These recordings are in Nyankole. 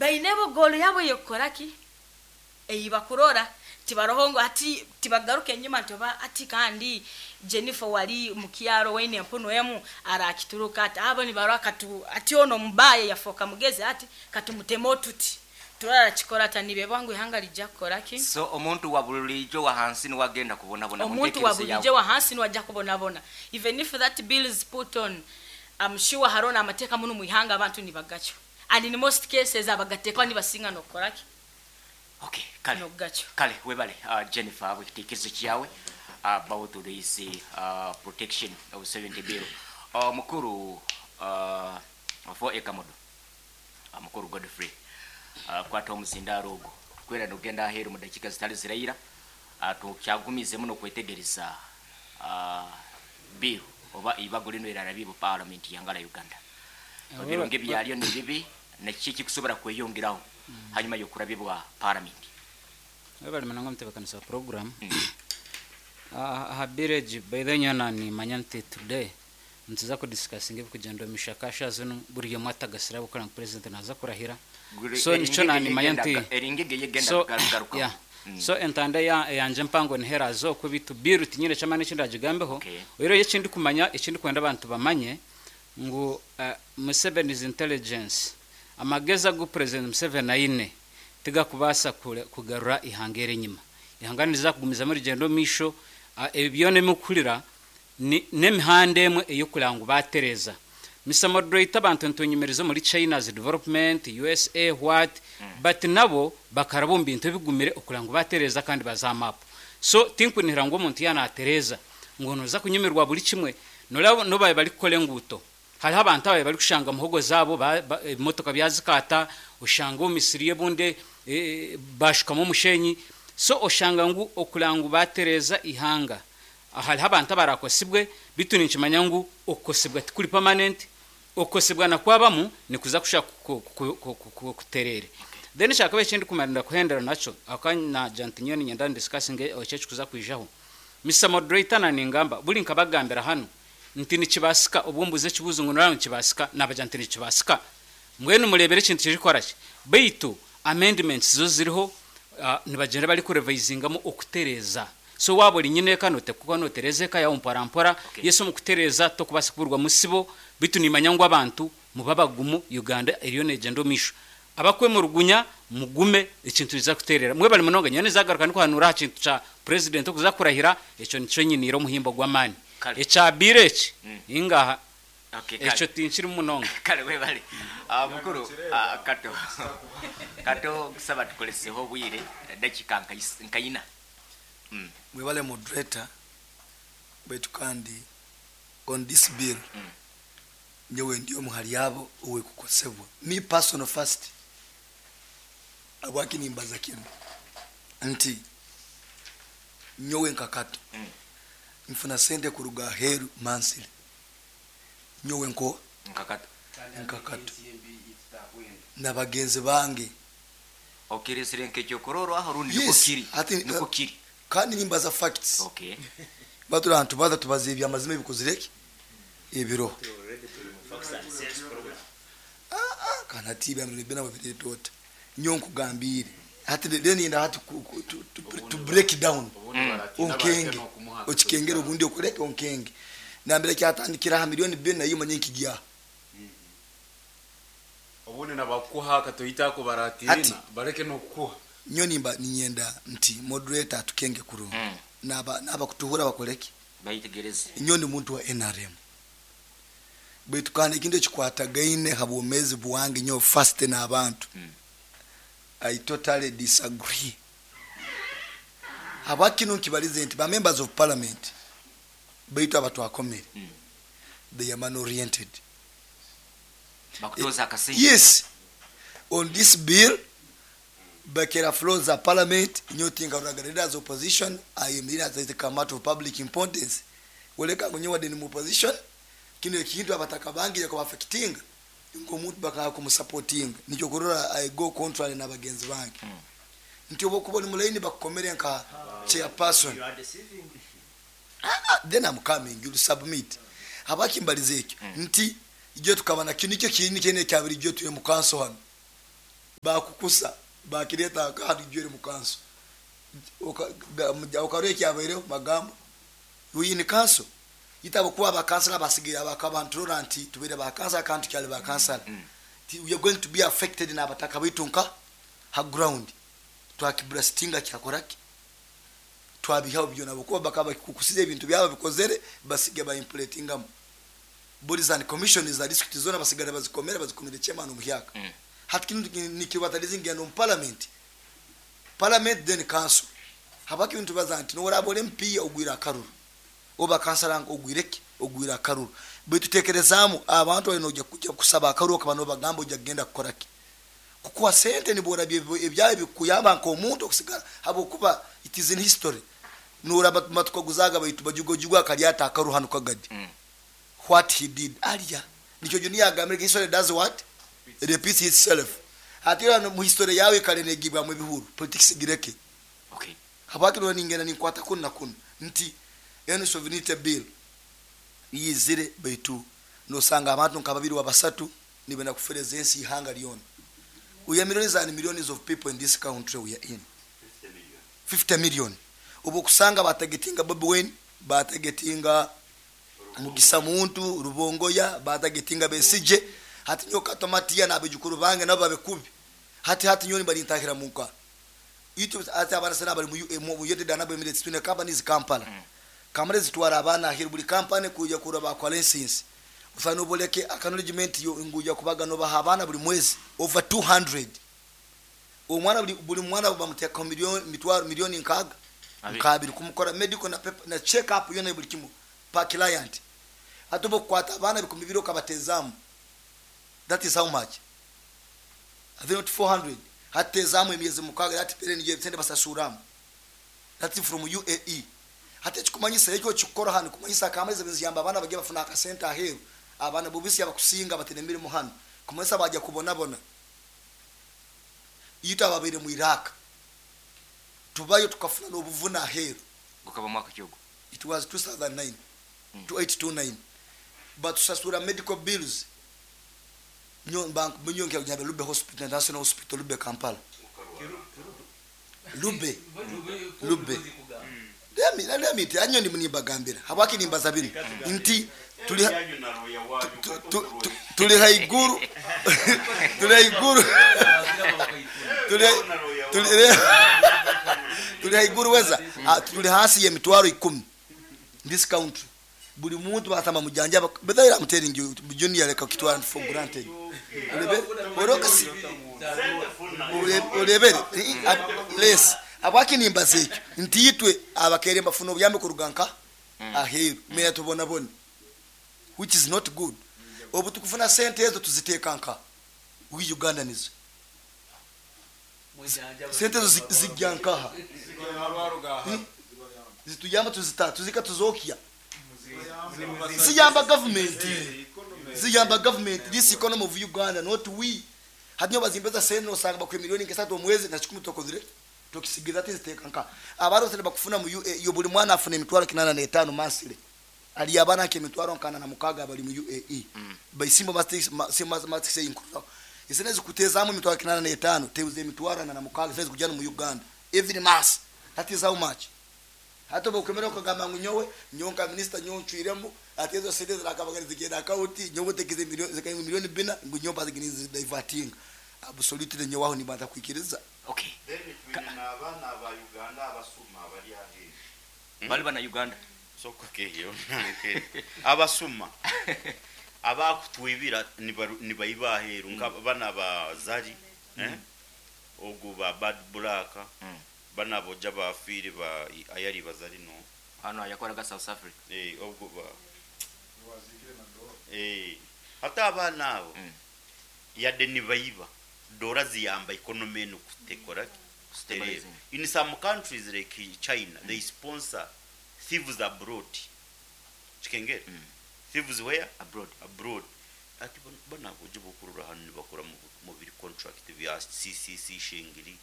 Baine bo goal yabo ey'okukora ki? Ei bakurora. Tibaroho ngu hati tibagaruka enyima nti oba hati kandi Jennifer owari mukyaro owaine empunu emu arakituruka ata? Abo nibarora katu hati onu omubaye yafooka mugezi hati katumuteme otuti turore arakikora ata nibebwa ngu ihanga rija kukora ki? So omuntu wa burijo wahansi niwe agenda kubonabona Omuntu wa muntekereza burijo yawe? wahansi niwe aja kubonabona even if that bill is put on I'm sure haroho n'amateeka munu mwihanga abantu nibagacwa and in most cases abagateekaho nibasinga n'okukora ki? Okay, kale N'okugacwa. Kale webale Jennifer ahabw'ekitekerezo kyawe about this Protection of 70 Bill. Mukuru for Ekamodo, Mukuru Godfrey, kwata omuzindaaro ogu kwera nogenda aheeru mu dakiika zitari ziraira tukyagumizemu n'okwetegereza bill oba eibago rinu erarabiibwe Parliament y'ihanga rya Uganda. Ebirungi byaryo n'ebibi na kiki ekikusobora kweyongeraho hanyuma y'okurabibwa Paramenti. Webale munonga omutebekanisa wa puroguramu. Aha bill egi by the way nyowe nanimanya nti today nituza kudisikasinga ebikugyenda omu mishaka shaaha zinu buri omwe atagasire ahabw'okureeba ngu president naaza kurahira so nikyo nanimanya nti so yeah so entanda eyangye empango niho eraaze okwe beitu bill tinyine ky'amaani eki ndagigambeho oyihireho ekindikumanya ekindikwenda abantu bamanye ngu Museveni's intelligence Amagezi agu Purezidenti Museveni aine tigakubaasa kugarura eihanga eri enyima. Eihanga niriza kugumizamu rigyende omu maisho. Ebi byona ebi murikuhurira n'emihanda emwe ey'okureba ngu baatereeza. Mister Moderator, abantu nitunyumiriza omuri China's development, usa, what, but nabo bakaraba omu bintu ebigumire okureba ngu baatereeza kandi baza aha map. So tinkunihira ngu omuntu yaaba naatereeza ngu nooza kunyumirwa buri kimwe. Noreeba n'obu baabaire barikukora enguuto, Hariho abantu ababaire barikushanga muhogo zaabo ebimotoka byazikaata, oshanga omu misiri y'obundi baashukamu omushenyi. So oshanga ngu okureba ngu baatereeza eihanga, hariho abantu abaraakosibwe beitu ninkimanya ngu okukosibwa tikuri permanent, okukosibwa na kwabamu nikuza kushuba kutereere. Then ekyakabiri eki ndikumara kuhendera nakyo, ahabw'okuba naagira nti nyowe niinyenda ndisikasinge eki ekikuza kwijaho. Mister Moderator na ningamba, buri nkabagambira hanu, Nti nikibaasika, obwo mbuuza ekibuuzo ngu noreeba ngu nikibaasika, naabagira nti nikibaasika. Mbwenu mureebere ekintu kirikukora ki? Beitu amendments zo ziriho, nibagyenda barikurevisingamu okutereeza. So waaba ori nyineeka nooteekwa kuba nootereeza eka yaawe mpora mpora. Yes omu kutereeza tokubaasa kuburwamu sibo, beitu niimanya ngu abantu mube abagumu, Uganda eriyo neegyenda omu maisho. Abakwemurugunya mugume ekintu nikiza kuterera. Mwebale munonga nyowe nizagaruka ndikuhanuura aha kintu kya president okuza kurahira ekyo nikyo nyiniire omuhimbo gwamani. Kale. Ekya bill eki ingaha Okay, kale. ekyo tinkirimu munonga. Kale webale. Ah, mukuru ah, Kato. Kato nkusaba tukoreseho obwire dakiika nka is- nka ina. Mwebale moderator baitu kandi on this bill Nyowe ndi omu hali abo owekukosebwa. Me personal first. Habwaki nimbaza kinu? Nti nyowe nka Kato nfuna sente kuruga aheru monthly. Nyowe nko Nka Kato. Nka Kato. Na bagenzi bange. Okiresire nk'ekyokurorwaho rundi nukwo Yes, kiri? hati Nukwo kiri. Kandi nimbaza facts. Okay. Batura aha nitubaza tubaza ebyamazima ebikozire ki? Ebiroho. Aa kandi hati ebyamazima byona wabireeta ota? Nyowe nkugambiire hati then niinyenda hati to break down onkenge okikengere obundi okore ki onkenge. Nambere kyatandikira aha milioni bibiri na imwe manye nkigya aha. Obundi na bakukuha akatoito ako Hati baratiina bareke n'okukuha. Nyowe nimba niinyenda nti moderator atukenge kurungi naaba n'abakutuhurra bakore ki? Bayetegereze. Nyowe ndi muntu wa nrm baitu kandi ekintu ekikwatagaine ha bwomeezi bwange nyowe first n'abantu I totally disagree. Habwaki kinu nkibalize nti ba members of parliament baitu abatwakomere they are money oriented. Bakutooza akasente. Yes on this bill Bakera floor za parliament nyowe tinkaroraga leaders opposition ayemerire as a matter of public importance woleka ngu nyowe wade ndi mu opposition kinu ekintu abataka bange kuba affectinga nkomuntu bakanga kumusapotinga nikyo okurora I go contrary nabagenzi bange nti obwokuba oli mu line bakukomere nka chairperson then I'm coming you'll submit habwaki mbalize ekyo nti ijo tukaba na kinu nikyo kinu kyene ekyabire ijo tuli mu council hanu. Bakukusa bakireta nka hanu ijwere mu kanso. Okarora ekyabaireho magambo. We in council. Itabo kuba abakansala basigaire abakabanturora nti tubaire ba kansala kandi tukyali ba kansala. We are going to be affected n'abataka baitu nka ha ground. Twakibrastinga kyakoraki? Twabihaho byona habwokuba bakaba bakikukusize ebintu byabo bikozere basige ba impletingamu. Bodies and commissions za district zona basigara bazikomere bazikomere chairman omuhyaka. Hati kinu nikibataliza ngenda omu parliament. Parliament then council. Habwaki ebintu tubaza nti noworaba ori MP ogwire akaruru. Oba kansala ogwire ki? Ogwire akaruru. Baitu tekerezaamu abantu bali noija kujya kusaba akaruru okaba nobagamba ojja kugenda kukora ki? Kukuha sente nibwo orabya ebyawe ebikukuyamba nk'omuntu okusigara habwokuba it is in history. Noraba matukaguzaga baitu Bajuga akalya ata akaruru hanu Kagadi. What he did alya. Nikyo Junior agambire history does what? Repeats itself. Hati ora mu history yawe ikare negibwamu ebihuru politics gireke. Okay. Habwaki norora ningenda ninkwata kunu na kunu nti enu sovereignty bill yizire baitu nosanga abantu nka babiri oba basatu nibenda kufereza ensi ihanga lyona. We are millions and millions of people in this country we are in. 50 million. Obu okusanga batagetinga Bobi Wine, batagetinga Mugisa Muntu, Rubongoya, batagetinga Besigye, hati nyowe Kato Matia n'abaijukuru bange nabo babe kubi. Hati hati nyowe nibarintahira munka. Itwe hati abaana sena abari mu United Arab Emirates twine companies Kampala. Kampala zitwara abaana aheeru buri company kuija kurora bakuha license. Osanga noboleke acknowledgement yo ngu oija kubaga nobaha abaana buri mwezi over 200. Omwana buri buri mwana bamutekaho million mitwaro million nkaaga Abiri. nkaabiri kumukora medical na paper na check up yona buri kimwe per client. Hati obu okukwata abaana 2000 okabatezamu that is how much? Are they not 400? Hati tezamu emyezi mukaaga that period niyo sente basasuramu. That's from UAE. Hati ekikumanyisa eki okikukora hanu kumanyisa akamaizi niziyamba abaana bagiye bafuna akasente aheeru abaana bobisi abakusinga batine emirimo hanu kumanyisa baija kubonabona. Itwe ababaire mu Iraq tubayo tukafuna n'obuvune aheeru. Gukaba mwaka ki ogwo? It was 2009, 2829 batusasura medical bills nyowe nyowe nyabe Lube Hospital, National Hospital Lube Kampala. Lube Lube Let me let me tell you nimbagambira habwaki nimbaza binu nti tuli tuli haiguru tuli haiguru tuli tuli tuli haiguru weza tuli hasi y'emitwaro 10 this country buri muntu batama mujanjaba but I'm telling you junior leka kitwara for granted olebere orokasi olebere less habwaki nimbaza ekyo nti itwe abakere mbafuna obuyambi kuruga nka aheeru mera tubonabone which is not good. Obu tukufuna sente ezo tuziteeka nka we Ugandans sente ezo zijja nkaha zituyamba tuzita tuzika tuzokya ziyamba government ziyamba government this economy of Uganda not we. Hati nyowe bazimbeza sente nosanga bakuha milioni nk'esatu omwezi na kikumi tokozire tokisigiza tiziteeka nka abaana sente bakufuna mu UAE buri mwana afuna emitwaro 85 monthly. Ali abaana nke emitwaro nkana na mukaga bari mu UAE. Baisimba mastic inkuru. Esente zikutezamu emitwaro 85 teuze emitwaro na mukaga sente zikujana mu Uganda every month. That is how much. Hata okwemera okugamba ngu nyowe nyowe nka minister nyowe ncwiremu ati ezo sente zirakabagana zigenda account nyowe tekize milioni zikaba milioni bina ngu nyowe baziginize diverting. Absolutely nyowe aho nibanza kwikiriza. Okay. Then twine n'abaana aba Uganda abasuma abari aheeru. Bali bana Uganda. Soka keyo nanke. Abasuma abakutwibira nibaiba aheeru nka bana ba Zari, ogu ba Bad Black, bana boja bafiire ba ayari bazari no. Hano yakoraga South Africa. Ogu ba hata abaana abo yadde nibaiba dora ziyamba economy eno kutekora Stabilizing. In some countries like China, they sponsor thieves abroad. Chikengere. Thieves where? Abroad. Abroad. Ati bana boje bokurura hano nibakora mu biri contract bya CCC Shengiri.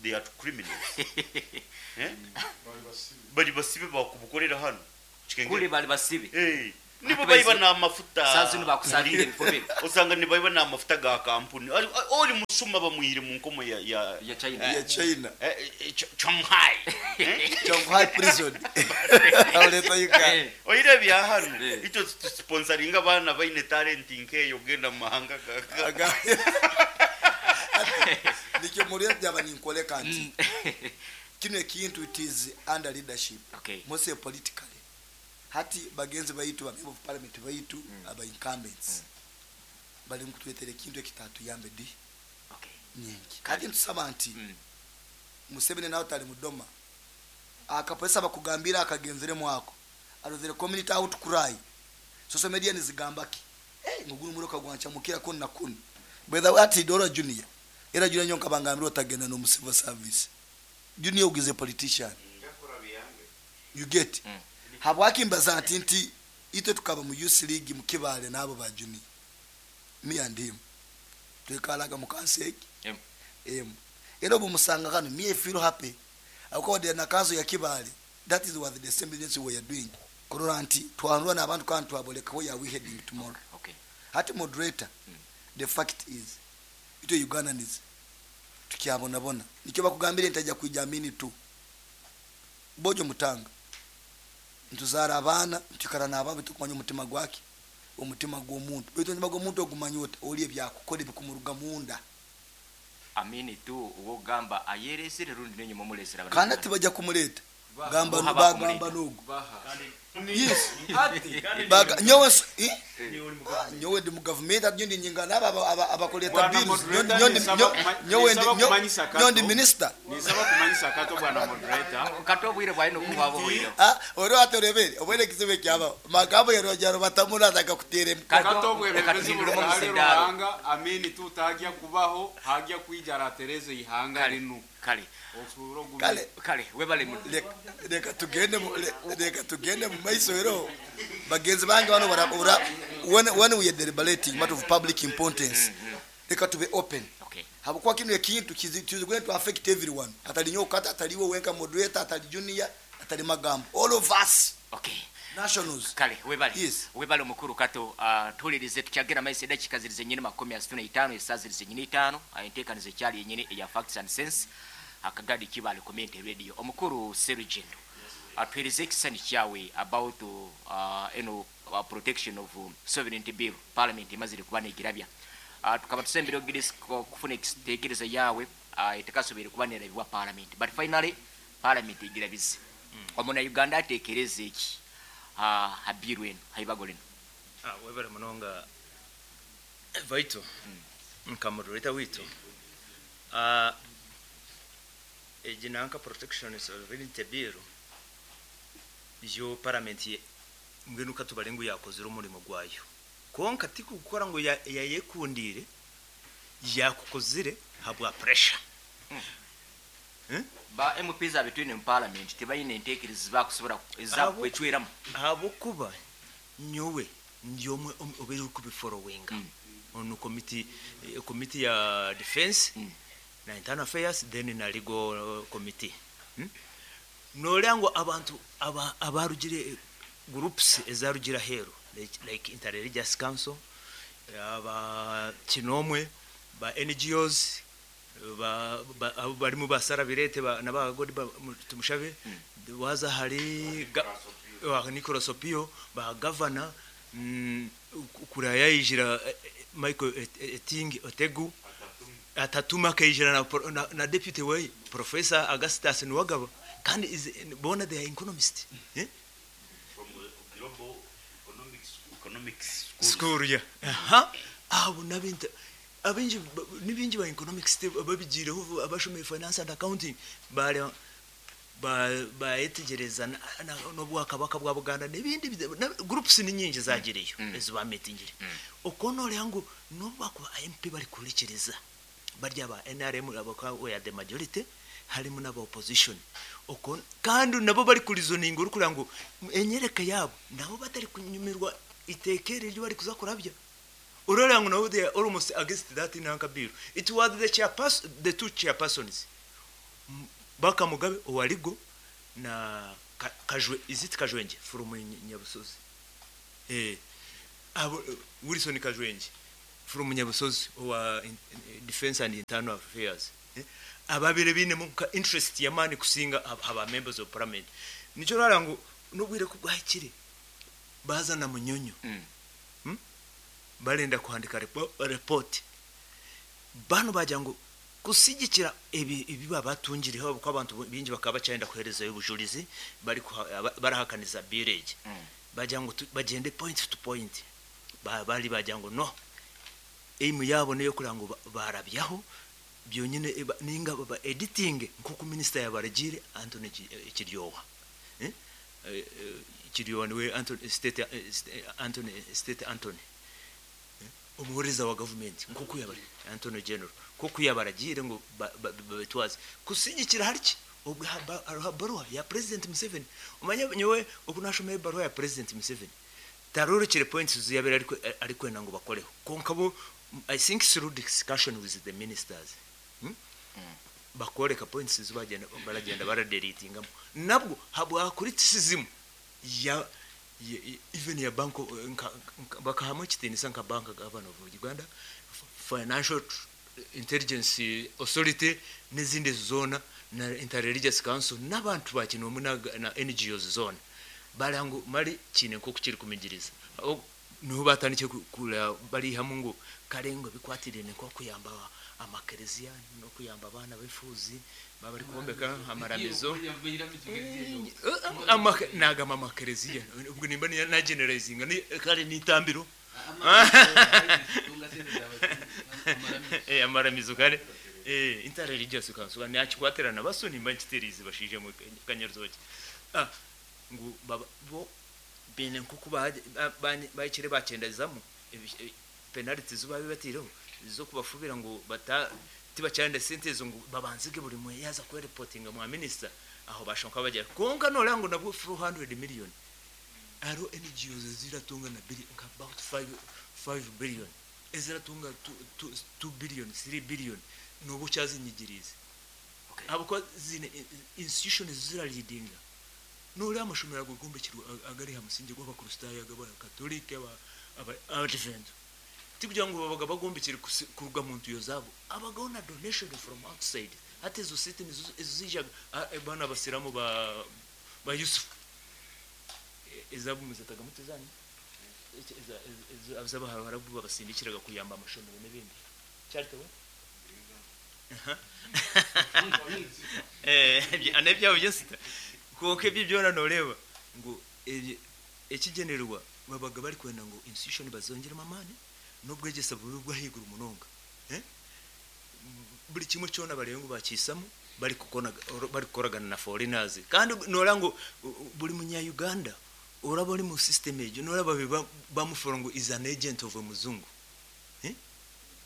They are criminals. Bali basibe bakubukorera hano. Chikengere. Kule bali basibe. Nibo baiba n'amafuta. Saa zinu bakusabire ebifubiro. Osanga nibaiba n'amafuta ga kampuni. Oli musuma bamwihire mu nkomo ya ya Ya China. Ya China. Shanghai. Shanghai prison. Auleta Uganda. Oire bya hano. Itwe tusponsoringa abaana baine talent nkeyo ogenda mu mahanga gaga. Nikyo muri byaba ninkoleka nti kino ekintu it is under leadership. Mostly politically. Hati bagenzi baitu ba member of parliament baitu aba incumbents. Bali mukutwetera ekintu ekitatuyambe di. Nyingi. Kati ntusaba nti Museveni nawe tali mudoma. Akapolisa bakugambira akagenzere mwako. Arozere community out cry. Social media nizigamba ki? Nguguru muroka gwancha mukira kuni na kuni. By the way, ati Dora Junior. Era Junior nyonka bangambira otagenda no civil service. Junior ugize politician. You get? Habwaki mbaza nti nti itwe tukaba mu youth league mu Kibale nabo ba Junior. Me and him. Twekalaga mu kanseki. Era obumusanga kano me feel happy. Akode na kanso ya Kibale. That is what the assembly we are doing. Korora nti twanurwa n'abantu kandi twaboleka where are we heading tomorrow. Hati moderator, the fact is itwe Ugandans tukyabonabona. Nikyo bakugambire ntajja kwijamini tu. Bojo mutanga. Ntuzara abaana, ntukara n'ababe tukumanya omutima gwake. Omutima gw'omuntu. Baitu omutima gw'omuntu ogumanya oti oli ebyakukora ebikumuruga munda. Amini tu uwogamba ayeresere rundi nenye mumulesera abantu. Kandi tibajja kumuleta. Gamba Boha bagamba bakumuleta. n'ogu. Baha. Yes. Baga nyowe nyowe ndi mu government ati ndi nyinga naba abakoleta Bwana bills. moderator, Nyowe nisaba kumanyisa nyowe ndi Kato. minister. Nisaba kumanyisa Kato bwana moderator. Kato bwire bwa ino kuba bwire. Ori atorebere obwere kizibe kyaba. Magambo ya Rojaro batamura atakakutere. Kato bwebembezi Reka tuhindure mu burahari musindaro. Ruhanga amini tutagya kubaho hagya kwijara Tereze ihanga rinu. Kale. Osuburo gumi. Kale. Kale webale mu. Reka tugende mu, reka tugende mu maiso ero. Bagenzi bange bano bara ora when we are deliberating matter of public importance. Reka tube open. Habukuwa kino ekintu kizi going to affect everyone. Atali nyoka, atali we wenka moderator, atali junior, atali magambo. All of us. Nationals. Kale webale. Yes. Webale omukuru Kato, tulirize tukyagera maiso edakika zirize nyini makumi asatu na itaano, essaawa zirize nyini itaano, enteekaniza ekyali yennyini eya Facts and Sense, akagadi Kibale Community Radio. Omukuru Serugendo, atuhereze ekisani kyawe about eno protection of sovereignty bill parliament emazire kuba negirabya. Tukaba tusembere ogirisi kufuna ekiteekerezo yawe, etekasobere kuba nerabibwa parliament, but finally parliament egirabize. Omuna Uganda ateekereze eki habiru eno haibago lino. Webale munonga vaito nka moderator witu. Egi nanka protection sovereignty bill yo parliament mbwenu katubare ngu yakozire omurimo gwayo. Konka tikukora ngu yayekundire yakukozire habwa pressure. Ba MPs abetwine mu parliament tebayine enteekereza bakusobola ezakwecweramu. Ahabwokuba nyowe ndi omwe obeire kubifollowinga. Ono committee ya defense na internal affairs then na legal committee. Nolya ngu abantu abarugire groups ezarugira heru like interreligious council, aba kinomwe, ba NGOs, abo barimu basara birete n'abagodi tumushabe, waza hari wa Nicolas Opio, ba governor, kuraya yijira Michael Eting Otegu, atatuma akayijira na deputy we Professor Augustus Nuwagaba, kandi is bona they are economist. From global economics school. School, yeah. Aha. Abo nabinta abinji nibinji ba economics babigireho abashomeye finance and accounting bale bayetegereza n'obwakabaka bwa Buganda n'ibindi groups ni nyingi zagireyo ezo meetingire. Okono lyangu n'obwakuba MP bari kulikiriza barya ba NRM abaka we are the majority harimo n'aba opposition. Okon kandi nabo bari kurizoninga uri kugira ngo enyereka yabo nabo batari kunyumirwa itekere ryo bari kuzakurabya. Urora ngo nabo they are almost against that in Ankabiru. It was the chairperson, the two chairpersons. Baka Mugabe Owaligo na Kajwe, is it Kajwenje from Nyabusozi? Eh, abo Wilson Kajwengi from Nyabusozi owa Defense and Internal Affairs, eh, ababire binemu nka interest yamani kusinga aba members of parliament. Nicyo rara ngu nobwire ko bwahikire bazana Munyonyo. Barenda kuhandika report bano bagira ngo kusigikira ibi babatungireho, kuko abantu bingi bakaba bacyenda kuherezayo ubujurizi bari barahakaniza birege. Bagira ngo bagende point to point. Bari bagira ngo no aim yabo niyo kugira ngo barabyaho byonyine, ninga ba editing nkuko minister yabaragire Anthony Kiryowa. Kiryowa niwe Anthony State, Anthony State, Anthony umuhuriza wa government, nkuko yabari Anthony General, kuko yabaragire ngo babitwaze kusigikira hariki. Ubwo hariho baruwa ya President Museveni. Umanye nyowe uku nashomeye baruwa ya President Museveni, tarurukire points ziyabera ariko ariko ngo bakoreho konka bo. I think through discussion with the ministers, Bakoreka points zibagenda baragenda baradeletingamo nabwo habwa criticism ya even ya bank bakahamu ekitinisa nka Bank Governor of Uganda, Financial Intelligence Authority n'izindi zona na Interreligious Council n'abantu bakinomu na NGOs zona barangu mari kine nko kukiri kumigiriza. Niho batandike kura bari hamwe ngo karengo bikwatirene nko kuyamba amakereziya no kuyamba abana bifuzi baba bari kubombeka amaramizo. Nagama amakereziya ubwo nimba na generalizing ni kare nitambiro amaramizo kare interreligious council nakikwatirana baso nimba nkiterizi bashije mu kanyaruzoki. Ngo bo bene nkuko bakire bakendazamo penalty zo babibatireho zo kubafubira ngo bata tibacyanda sente ngo babanzige buri mwe yaza ko reportinga mwa minister aho bashonka bagera konka nora ngo nabwo 400 million aro NGOs ziratunga na billion nka about 5 billion eziratunga 2 billion, 3 billion nubu cyazinyigirize. Abo zine institutions ziraleadinga nuri amashomero agogombekirwa agari hamusinge gw'abakristayo, ag'abakatolike, aba Advent, tikugira ngo babaga bagombekere kuruga mu ntuyo zabo abagaho na donation from outside. Hati izo site nizo zijaga bana abasiramu ba Yusuf ezabo muzataga mutezani z'abaharabu babasindikiraga kuyamba amashomero n'ibindi cyaritewe anebyabo byose kuko ibyo byona noreba ngo ekigenerwa babaga bari kwenda ngo institution bazongeremo amani n'ubwegesa bube bwahigura umunonga, buri kimwe cyona barebe ngo bakisamo bari kukona bari kukoragana na foreigners. Kandi nora ngo buri munya Uganda uraba uri mu system ejo nora babe bamufora ngo is an agent of a muzungu,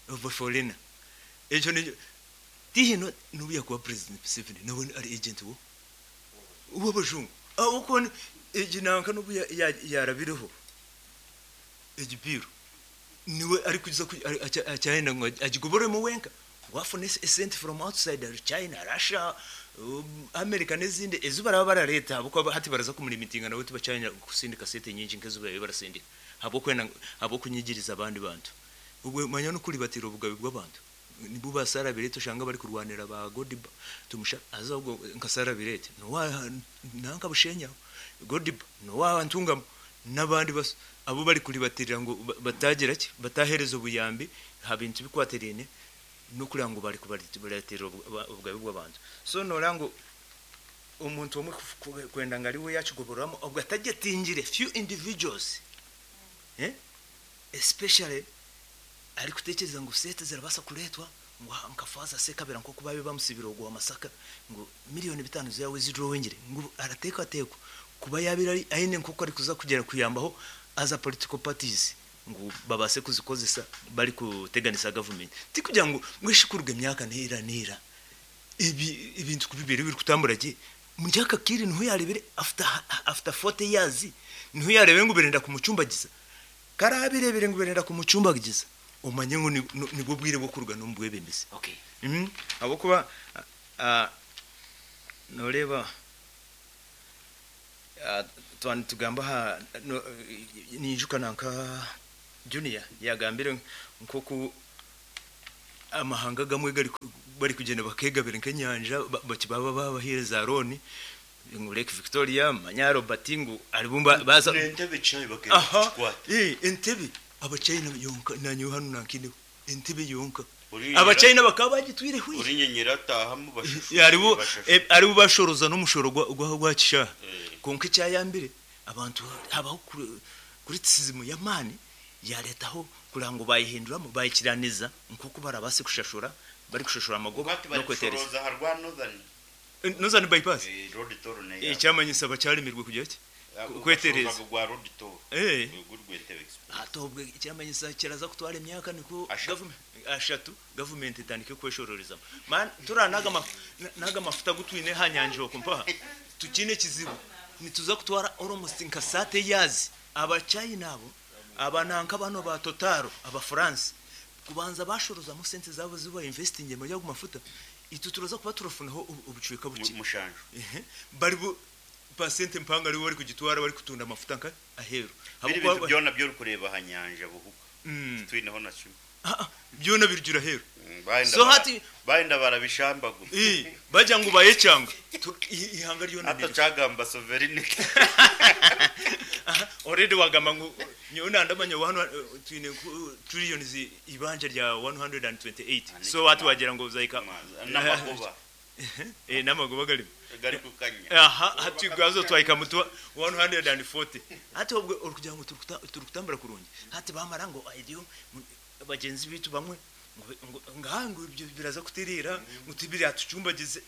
of a foreigner. Ejo ni tihino nubuya kuba President Museveni nawe ari agent wo w'abazungu uko egi nanka nubu yarabiriho egibiru niwe ari kuza acyahenda ngo agigoboremo wenka wafune sent from outside China, Russia, America n'izindi ezo baraba barareta abo hati baraza kumulimitinga nawe tubacanya kusindika sente nyinshi nkezo babe barasindika abo kwena abo kunyigiriza abandi bantu. Ubwo manya no kuribatira ubugabe bw'abantu nibo basara birete ushanga bari kurwanira ba Godiba tumusha aza ubwo nkasara birete no wa nanka bushenya Godiba no wa ntungamo n'abandi bas abo bari kuribatirira ngo batagira ki batahereza ubuyambi habintu bikwaterene no kugira ngo bari kubaratira ubugabe bw'abantu. So nora ngo umuntu umwe kwenda ngari we yakigoboramo ubwo atagetingire few individuals, especially ari kutekereza ngo sete zirabasa kuretwa ngo nkafaza se kabera nko kubabe bamusibira ogwa Masaka ngo 5 miliyoni zawe zidrowingire ngo arateka atekwa kuba yabira ari aine nkuko ari kuza kugera kuyambaho aza political parties ngo babase kuzikozesa bari kuteganisa government tikugira ngo mwishikurwe myaka nira nira ibi ibintu kubibiri biri kutambura je muryaka kiri ntu yarebere after 40 years ntu yarebe ngo berenda kumucumbagiza karabirebere ngo berenda kumucumbagiza umanye ngo nibwo bwire bwo kuruga n'umbwebembezi. Okay. Abo kuba noreba Twaba nitugamba aha no- ninjuka nanka Junior yagambire nk'oku amahanga gamwe gari bari kugenda bakegabira nk'enyanja baba babaheereza za loan ngu Lake Victoria manya Robert ngu aribumba baza n'entebe chai bagenda aha kukikwata. Entebe abachina yonka nanyo hano nankineho entebe yonka. Uri- Abachina bakaba bagitwire hwi. Uri nyenyera atahamu bashushu. Haribo bashushu. Aribo bashoroza n'omushoro gwa kishaha. Konka ekyayambire abantu habaho criticism y'amaani yaretaho kugira ngu bayihinduramu bayikiraniza nk'oku barabase kushashura bari kushashura amagoba Bati bari n'okwetereza. kushoroza ha rwa Northern. Northern bypass. Road toll ne. Ekyamanyisa bakyaremirwe kugira ki kwetereza. Gwa road toll. Gurwe Entebbe Express. Ate obwe ekyamanyisa kiraza kutwara emyaka niko Ashatu. Ashatu government etandike kweshororeza man tura naga naga mafuta gutwine ha nyanja okumpaha tukine kizibu nituza kutwara almost nka sate yazi abachina abo abananka bano ba Total aba France kubanza bashoroza mu sente zabo ziba investing mu yago mafuta itu turaza kuba turafunaho ubucweka buke. Mushanju. Ehe, bari bu percent mpanga ari bari kugitwara bari kutunda amafuta nka aheru. Biri bintu byona byo kureba ha nyanja buhuka. Twineho na kimwe. Byona birjura aheru. Baenda So hati baenda barabishamba gusa. Bajya ngo bayecanga. Ihanga ryona Hata niryo. cagamba sovereignty. Aha, already wagamba ngo nyona ndamanya wano twine trillions ibanja rya 128. So watu wagira ngo uzaika n'amagoba. N'amagoba gari. Gari kukanya. Aha, hati gwazo twaika mutu 140. Hati obwe kugira ngo turukutambura kurungi. Hati bamara ngo idiyo bagenzi bitu bamwe ngo ngahango ibyo biraza kutirira ngo tibiri atucumbagize.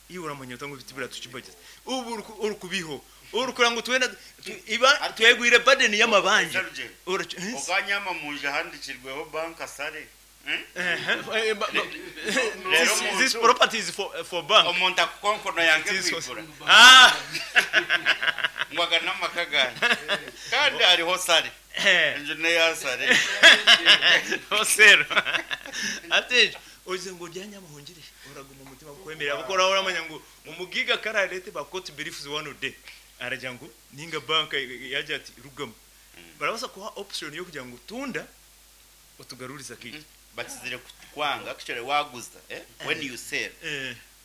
Iyo uramanya ngo bitibira tucumbagize. Ubu urukubiho. Urukura ngo twenda iba twegwire burden y'amabanje. Serge, Okanyama muje handikirweho bank asare. Rero This muntu- property is for bank. Omuntu akukonkono yange This was- kwigura. Ngwaga n'amaka gange. Kandi hariho sare. Enju neya sare. Osero. Ate oze ngo ryanya muhungire uraguma umutima kwemerera bakora uramanya ngo umugiga kararete ba court briefs one day arajya ngo ninga bank yaje ati rugamo barabasa kuha option yo kugira ngo tunda utugaruriza kiki. Bakizire kwanga actually waguza when you sell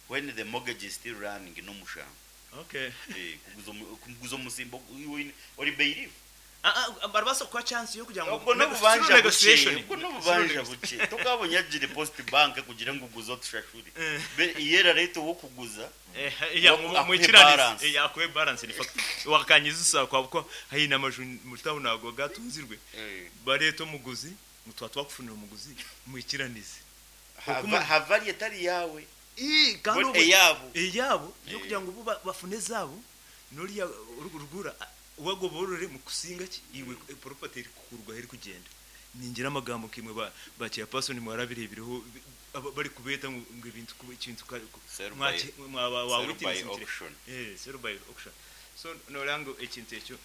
when the mortgage is still running no mushamba. Kuguza umusimbo uri bailiff. Barabasa kuha chance yo kugira ngo ubwo n'ububanja buke, ubwo n'ububanja buke tukabonye agire post bank kugira ngo uguze tushashuri iyera leta wo kuguza ya Akwiye mwikiranize balance. Akwiye balance ni fact wakanyiza usakwa kuko hari namaju mutaho nago gatunzirwe bareto muguzi mutwa twakufunira umuguzi mwikiranize Havari etari yawe kandi Bo- eyabo. Eyabo yo kugira ngo bafune zabo noriya rugura wagoborore mu kusinga ki iwe property iri kukurwa iri kugenda ningira amagambo kimwe ba chairperson mwarabirebireho bari kubeta ngo ibintu kuba ikintu Sell by- mwaba wa sell witness by auction. Sell by auction. So norango ekintu ekyo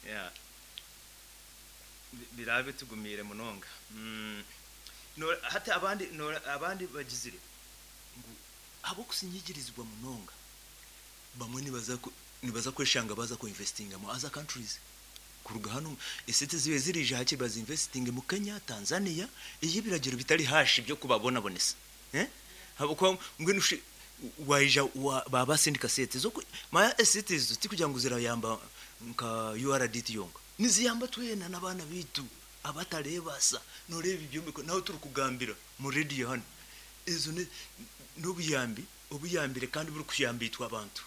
yeah birabe tugumire munonga. No hata abandi no abandi bagizire ngo abo kusinyigirizwa munonga bamwe nibaza kweshanga baza ku investinga mu other countries kuruga hano esete zibe zirije hake bazi investing mu Kenya, Tanzania iyo biragiro bitari hashi byo kubabona bonesa habo ngwe nushi waija baba sendika sete zo ma esete zo tikugira ngo zirayamba nka URDT yonga niziyamba twena nabana bitu abatarebasa noreba ibyombeko naho turi kugambira mu radio hano izo n'obuyambi obuyambire kandi buri kuyambitwa abantu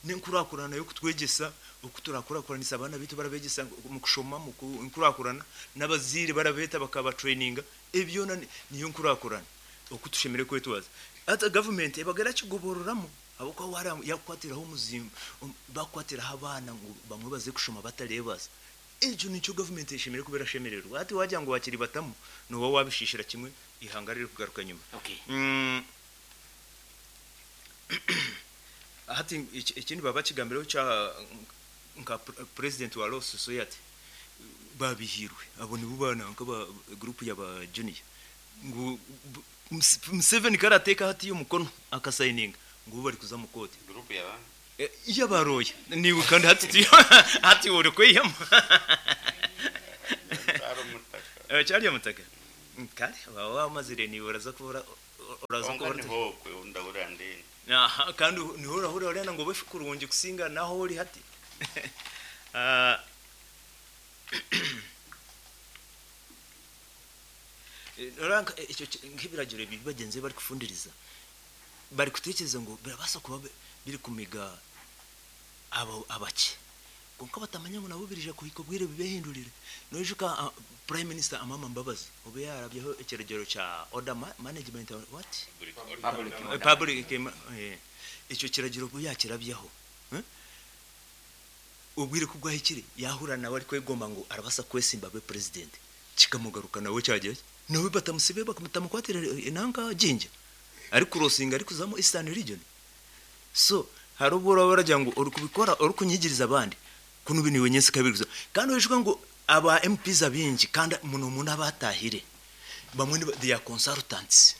nenkurakurana yo kutwegesa okuturakuranisa abana bitu barabegesa mu kushoma mu nkurakurana n'abazire barabeta bakaba traininga ebyo niyo nkurakurana okutushemere kwetwaza ata government ebagera kigobororamo abako wara yakwatiraho umuzimba bakwatiraho abana ngo bamwe baze kushoma batarebasa ejo nicyo government yeshemere kubera shemererwa ati wajya ngo bakiri batamu no wabishishira kimwe ihangarire kugaruka nyuma. Hati ikindi baba kigambiraho cya nka president wa Law Society babihirwe abo ni bubana nka ba group ya ba junior ngo Museveni karateka hati y'umukono akasayininga ngo bari kuza mu kote group ya ba Yabaroya niwe kandi hati hati uri kweyama. Ari omutaka. Cyari omutaka kale waba wamazire niwe uraza kubura uraza Konka kubura niho kwe ndahurira ndende. Aha, kandi niho urahurira urena ngo befe kurungi kusinga naho uri hati. Ah, Ranka icyo nk'ibiragiro ibi bagenzi be bari kufundiriza bari kutekereza ngo birabasa kuba biri kumiga abo abake, konka batamanya ngo nabo birije kuhika obwire bibehindurire. Noijuka Prime Minister Amama Mbabazi obe yarabyeho ekiragiro cya order management what? Public order. Public icyo kiragiro ubwo yakirabyeho, eh? Ubwire ko bwahikire yahura nawe ari kwegomba ngo arabasa kwesimba abe president, kikamugaruka nawe cyagiye nawe batamusibe bakamutamukwatira inanga jinja ari kurosinga ari kuzamo Eastern Region. So hari ubwo uraba baragira ngo uri kubikora uri kunyigiriza abandi kuno bini wenyese kabiriza, kandi wishuka ngo aba MPs abingi kandi muno muno abatahire bamwe ni they are consultants,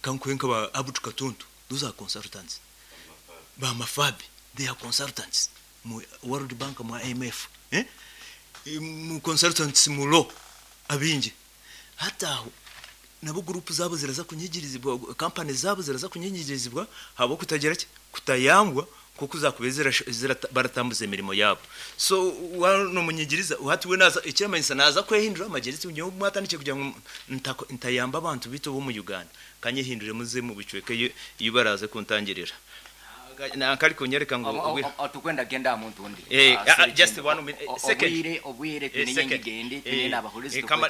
kankwenka ba Abutu Katuntu, those are consultants, ba Mafabi, they are consultants mu World Bank, mu IMF, eh, mu consultants mu law abingi. Hata aho nabo group zabo ziraza kunyigirizibwa, company zabo ziraza kunyigirizibwa habo kutagira ki kutayangwa kuko uzakubezera baratambuza imirimo yabo. So wano munyigiriza uhati we naza ikiramanyisa naza kwehindura amageretse unyo mwatandike kugira ngo ntayamba abantu bito bo mu Uganda kanyehindure muze mu bicweke iyo baraze kuntangirira nankari kunyereka ngo Tukwenda genda muntu undi. Eh, Ah, sorry, just Jane. one minute, second. Obwire Eh, second. tunenye ngende Eh, tunene abahurizi kama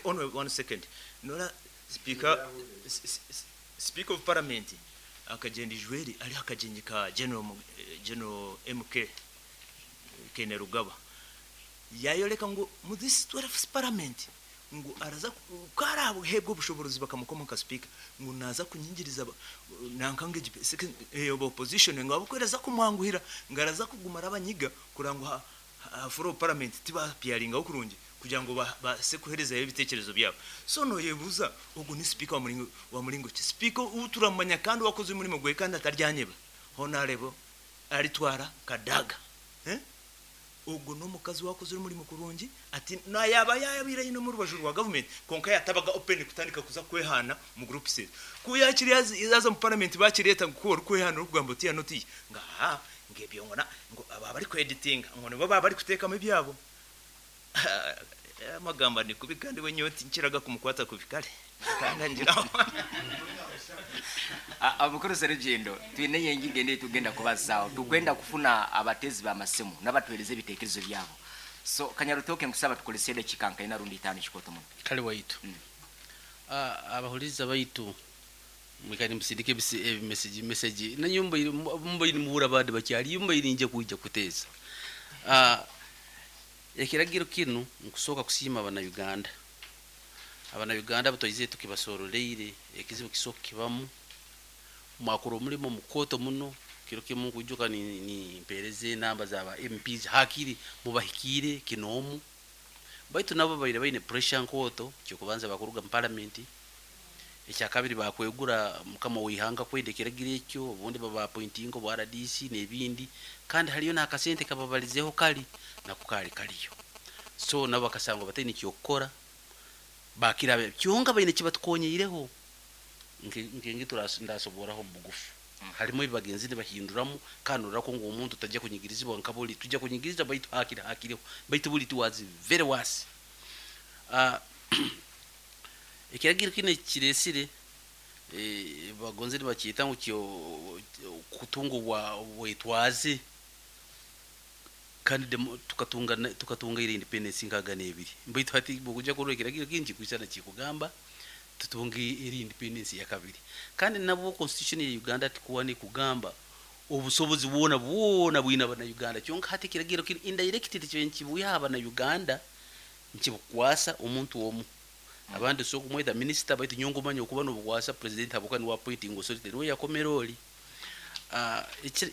only one second. Nora speaker speaker of parliament akagenda ijweri ari akagenyi ka general General MK Kainerugaba yayoreka ngo mu this 12 parliament ngo araza karabo hebwo bushobozi bakamukoma nka speaker ngo naza kunyingiriza nankange second opposition ngo abukwereza kumwanguhira ngo araza kugumara abanyiga kurangwa ha floor parliament tiba piaringa kurungi kugira ngo base kuhereza ibitekerezo byabo. So no yebuza ubwo ni speaker wa muringo wa muringo ki speaker uturamanya kandi wakoze umurimo gwe kandi ataryanyeba honorable aritwara Kadaga, eh, ubwo no mukazi wakoze umurimo kurungi ati nayaba yayabira ino mu rubaju rwa government konka yatabaga open kutandika kuza kwehana mu group set kuyakiri yaza mu parliament bakireta ngo kwehana rugamba uti yanoti ngaha ngebyo ngona ngo aba bari kwediting ngo nibo baba bari kutekamo ibyabo. Amagambo ni kubi kandi we nyoti nkiraga kumukwata kubikare kangangira. Abukuru Serugendo, twine ngende tugenda kubazaawo tugenda kufuna abatezi b'amasimu n'abatuweereza ebiteekerezo byabo. So Kanyarutoke nkusaba tukolese eddakiika nkaina rundi itaano kikoto muno. Kale waitu. Abahuliza baitu mwikani musindike message message na nyumba mumba iri muhura abandi bakyali yumba iri nje kuija kuteeza. Ekiragiro kinu nkusooka kusiima abana Uganda abana Uganda batwaize tukibasoroleire ekizibu kisooka kibamu mwakora omulimo mukoto muno kiro kimu nkujuka ni mpereze enamba zaba MPs hakiri mubahikire kinomu baitu nabo baire baine pressure nkoto kyokubanza bakuruga mu parliament ekyakabiri bakwegura mukama wihanga kwenda ekiragiro ekyo obundi baba appointinga obwa RDC n'ebindi kandi haliyo n'akasente kababalizeho kali nako kali kaliyo so nabo bakasanga bataine kyokukora bakira kyonka baine kibatukonyeireho nkenge ndasoboraho bugufu harimu ebibagenzi nibahinduramu kandi orako ngu omuntu tajja kunyigirizibwa nka buli tujja kunyigiriza baitu hakiri hakiriho baitu buli tiwazi very worse. Ekiragiro kino kiresire bagonze nibakyeta ngu kyo kutunga obwetwaze kandi tukatunga ire independence nkaga n'ebiri baitu hati bwokujja kurora ekiragiro kinu kikwisana kikugamba tutunge eri independence ya kabiri kandi nabwo constitution ya Uganda tikuwa ni kugamba obusobozi bwona bwona bwina bana Uganda kyonka hati kiragiro kiri indirect tikyo nkibuya abana Uganda nkibukwasa omuntu omu abandi so kumweta minister baitu nyongo manyo okuba nobukwasa president abuka ni appointing authority niwe yakomera oli.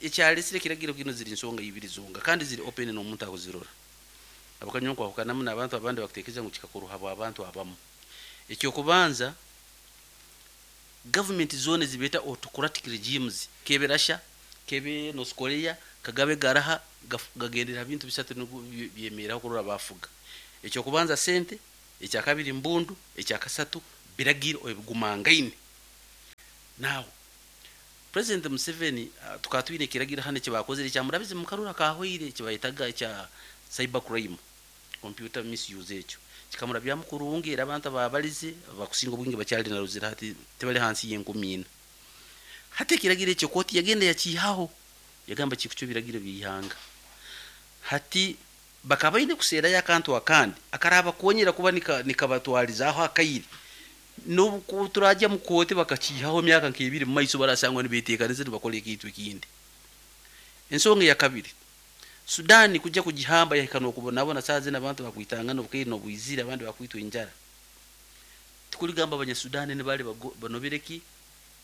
Ekyalesire kiragiro kino ziri nsonga ibiri zonga kandi ziri open n'omuntu akuzirora abakanyonko akukanamu n'abantu abandi bakutekereza ngu kikakuruha abantu abamu. Ekyokubanza government zone zibeta autocratic regimes kebe Russia Kebe North Korea kagabe garaha gagendera ha bintu bisatu nibwo byemeraho kurora bafuga. Ekyokubanza sente, ekyakabiri mbundu, ekyakasatu biragiro ebigumangaine. Now President Museveni tukaba twine ekiragiro hanu ekibakozire ekyamurabize mukarura kahweire ekibayetaga ekya cyber crime, computer misuse ekyo kikamurabyamu kurungi era abantu ababalize abakusinga obwingi bakyali na Ruzira hati tibali hansi y'enkumi ina. Hati ekiragiro ekyo kooti yagenda yakiihaho yagamba kikucwa ebiragiro by'eihanga. Hati bakaba baine kuseerayo akantu akandi akarabakonyera kuba nikabatwalizaho akaire. N'obu ku turagya mu kooti bakakiihaho emyaka nk'ebiri mu maiso barasangwa nibeteekaniza nibakora ekintu ekindi. Ensonga eyakabiri, Sudan kujya kugihamba yahika n'okubonabona saaha zinu abantu bakwitangana obukaire n'obwizire abandi bakwitwa enjara. Tikuligamba Abanyasudani nibali banobire ki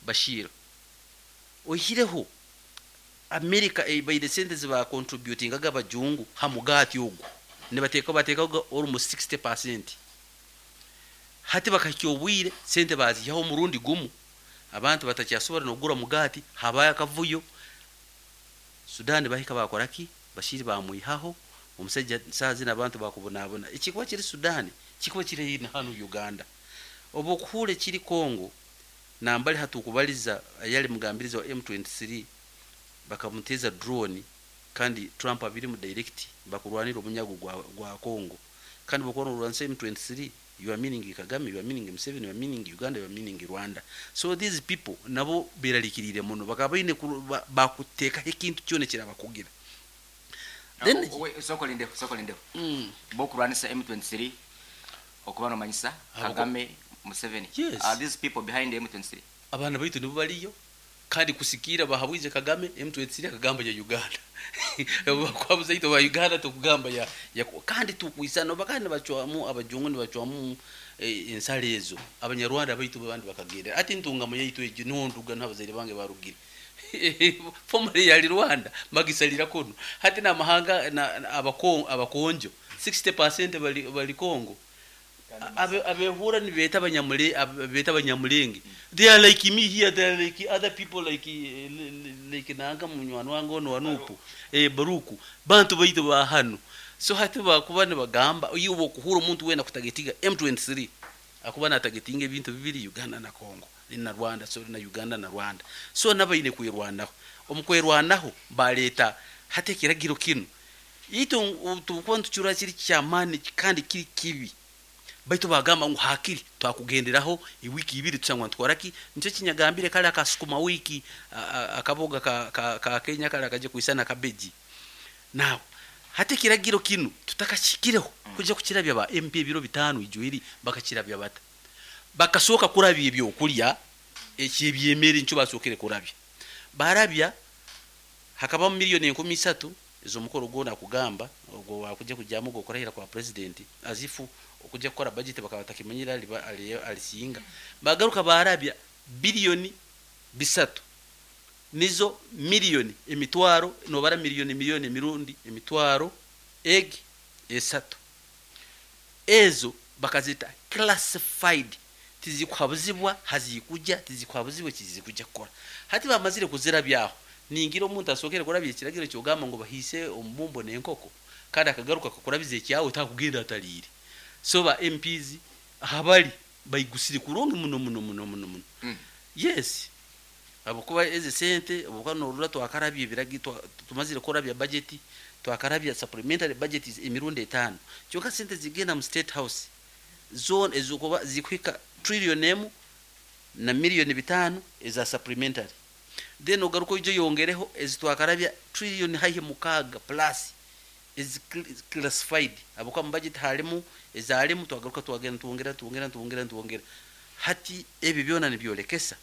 Bashir. Oihireho America ebaire sente ezi contributingaga abajungu ha mugaati ogu nibateekaho bateekaho almost 60%. Hati bakahikya obwire sente baziihaho omurundi gumu abantu batakyasobora n'okugura mugaati habayo akavuyo. Sudan bahika bakora ki? Bashir bamwihaho omusaija saaha zinu abantu bakubonabona. Ekikuba kiri Sudan kikuba kiri na hanu Uganda. Obu okuhuura ekiri Congo nambali hatukubaliza ayali mugambirizi wa M23 bakamuteza drone kandi Trump abirimu direct bakurwanira omunyago gwa Congo. Kandi bokuba norwanisa M23 you are meaning Kagame, you are meaning Museveni, you are meaning Uganda, you are meaning Rwanda. So these people nabo berarikirire muno bakaba baine bakuteekaho ekintu kyona ekirabakugira. Then Soko lindeho, soko lindeho. Bokurwanisa M23 okuba nomanyisa Kagame, Museveni. Yes. Are these people behind the M23? Abaana baitu nibo bariyo kandi kusikiira bahabwize Kagame M23 akagamba ya Uganda. Bakwabuza itwe ba Uganda tukugamba ya kandi tukwisana bakandi nibacwamu abajungu nibacwamu ensale ezo abanyarwanda baitu abandi bakagenda ati ntungamo yaitu egyo niho nduga n'abazaire bange barugire. Formerly yali Rwanda magisalira kuno hati n'amahanga na abakonjo 60% bali Congo. Abehura nibeta abanyamule beta abanyamulenge. They are like me here, they are like other people like nanga munywani wange ono wanupu Baruku bantu baitu ba hano. So hati bakuba nibagamba iyo bokuhura omuntu wena kutagetiga M23 akuba natagetinga ebintu bibiri Uganda na Congo na Rwanda, so na Uganda na Rwanda. So nabaine kwirwanaho omukwerwanaho baleta hati ekiragiro kinu itu tukuba ntucura kiri kyamani kandi kiri kibi. Baitu bagamba ngu hakiri twakugenderaho ewiki ibiri tusangwa ntwara ki nicyo kinyagambire kale akasukuma wiki akaboga ka Kenya kale akaje kuisana kabeji. Now hati kiragiro kinu tutakakikireho kujya kukirabya ba MP ebiro bitano ijuiri bakakirabya bata bakasoka kurabya ebyokulya ekibyemere nicyo basokere kurabya barabya hakaba miliyoni 13 ezo mukoro gona kugamba ogwo wakujya kujyamu gokorahira kwa president azifu okujya gukora budget bakaba batakimanyira alisinga bagaruka barabya biliyoni 3 nizo miliyoni emitwaro nobara miliyoni miliyoni emirundi emitwaro eg esatu ezo bakazita classified tizikhabuzibwa hazikujya tizikhabuzibwe kizikujya kukora hati bamazire kuzira byaho ningira omuntu asokere kurabya ekiragiro kyogamba ngo bahise omubumbo n'enkoko kandi akagaruka kakurabiza ekyawe takugenda atalire. So ba MPs habali bayigusire kurungi muno muno muno muno muno. Yes abakuba eze sente abakuba norura twakarabye ebiragi tumazire kurabya budget twakarabya supplementary budget emirundi 5 kyonka sente zigenda mu state house zone ezokuba zikwika trillion emu na miliyoni 5 eza supplementary then ogaruko ijo yongereho ezitwakarabya trillion haihi mukaga plus is classified abakuba mu budget halimu ezalimu twagaruka twagenda twongera twongera twongera twongera hati ebi byona nibyolekesa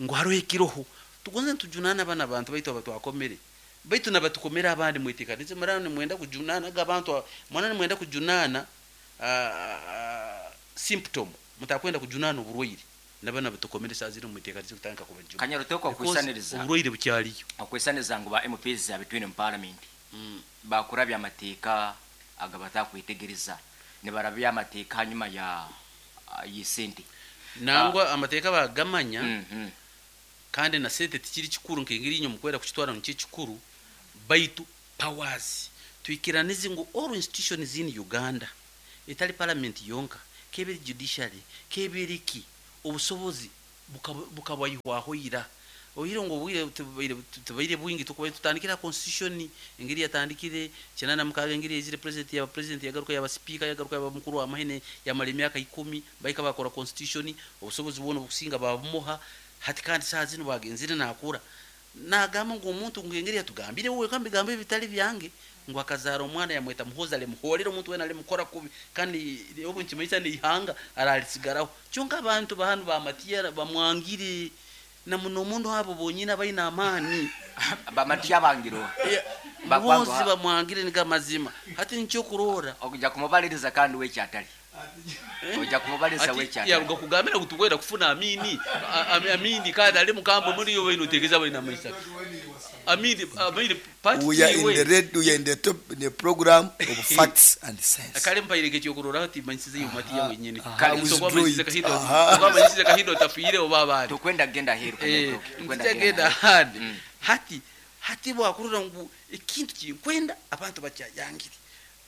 ngu hariho ekiroho tugonze ntujunana abana abantu baitu abatwakomere baitu nabatukomera abandi mwetekanize murano nimwenda kujunana abantu mwana nimwenda kujunana symptom mutakwenda kujunana oburwaire nabana batukomere saa ziri mwetekanize kutandika kubajuna Kanyarutoko okwisaniriza oburwaire bukyaliyo okwisaniriza ngu ba MPs abitwine mu parliament bakurabya amateeka agabatakwitegereza nibarabya amateeka hanyuma ya yisente nangwa amateeka bagamanya. Kandi na sente tikiri kikuru nk'engeri inywe mukwenda kukitwara ngu nikyo kikuru, baitu powers. Twikiranize ngu all institutions in Uganda, etali parliament yonka, kebe eri judiciary, kebe eri ki, obusobozi bukabwaihwaho ira. Oihire ngu obwire tibubaire tibubaire bwingi tukubaire tutandikire aha constitution engeri yatandikire 96 engeri yaizire president yaba president yagaruka yaba speaker yagaruka yaba mukuru wa mahe yamara emyaka ikumi bahika bakora constitution obusobozi bwona obukusinga babumuha hati kandi saaha zinu bwagenzire nakura nagamba ngu omuntu ngu engeri yatugambire we wenka mubigambo ebitari byange ngu akazaara omwana yamweta Muhoozi alimuhoorera omuntu weena alimukora kubi kandi obu nikimanyisa n'eihanga ararisigaraho kyonka abantu ba hanu ba Matiya bamwangire na muno muno abo bonyine abaine amaani. Ba Matiya bangire oha? Muhoozi bamwangire nigo amazima hati nikyokuroora. Okuja kumubaliriza kandi we ekyatari. Oja kumubaliriza we Ati ekyatari. yaruga kugambira ngu tukwenda kufuna Amini Amini kandi ali mukambwe muri iwe notegereza abaine amaisaka Amini Amini part We are in iwe the red, we are in the top in the program of facts and sense. Kale mpaire ekyokuroraho timanyisize iwe Matiya wenyini. Aha, Nsobola withdraw manyisize it. Kahindo, Aha. oba manyisize Kahindo otafiire oba abandi. Tukwenda kugenda aheeru Tukwenda Ntikyagenda ahandi. Hati hati bwakurora ngu ekintu kinkwenda abantu bakyayangire.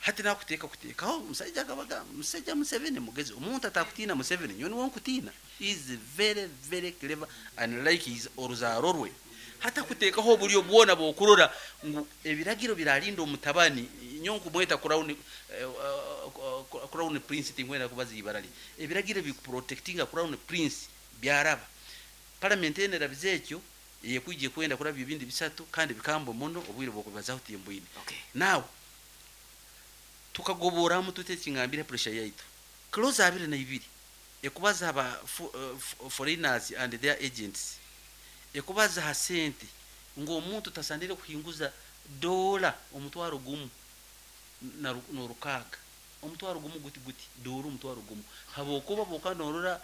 Hati nakuteeka kuteekaho omusaija akabaga omusaija Museveni mugezi omuntu atakutiina Museveni nyowe niwe nkutiina. He is very very clever and like his oruzaaro rwe. Hati akuteekaho oburyo bwona bw'okurora ngu ebiragiro birarinda omutabani nyowe nkumweta crown crown prince tinkwenda kubaza ibara rye. Ebiragiro bikuprotectinga crown prince byaraba. Parliament enu erabize ekyo eyekwija ekwenda kurabya ebindi bisatu kandi bikambwe muno obwire bw'okubibazaho timbwine. Now tukagoboramu tuta ekingambire pressure yaitu. Clause 22 ekubaza aba foreigners and their agents ekubaza ha sente ngu omuntu tasanire kuhinguza dola omutwaro gumu n'orukaaga omutwaro gumu guti guti dola omutwaro gumu habwokuba bwoka norora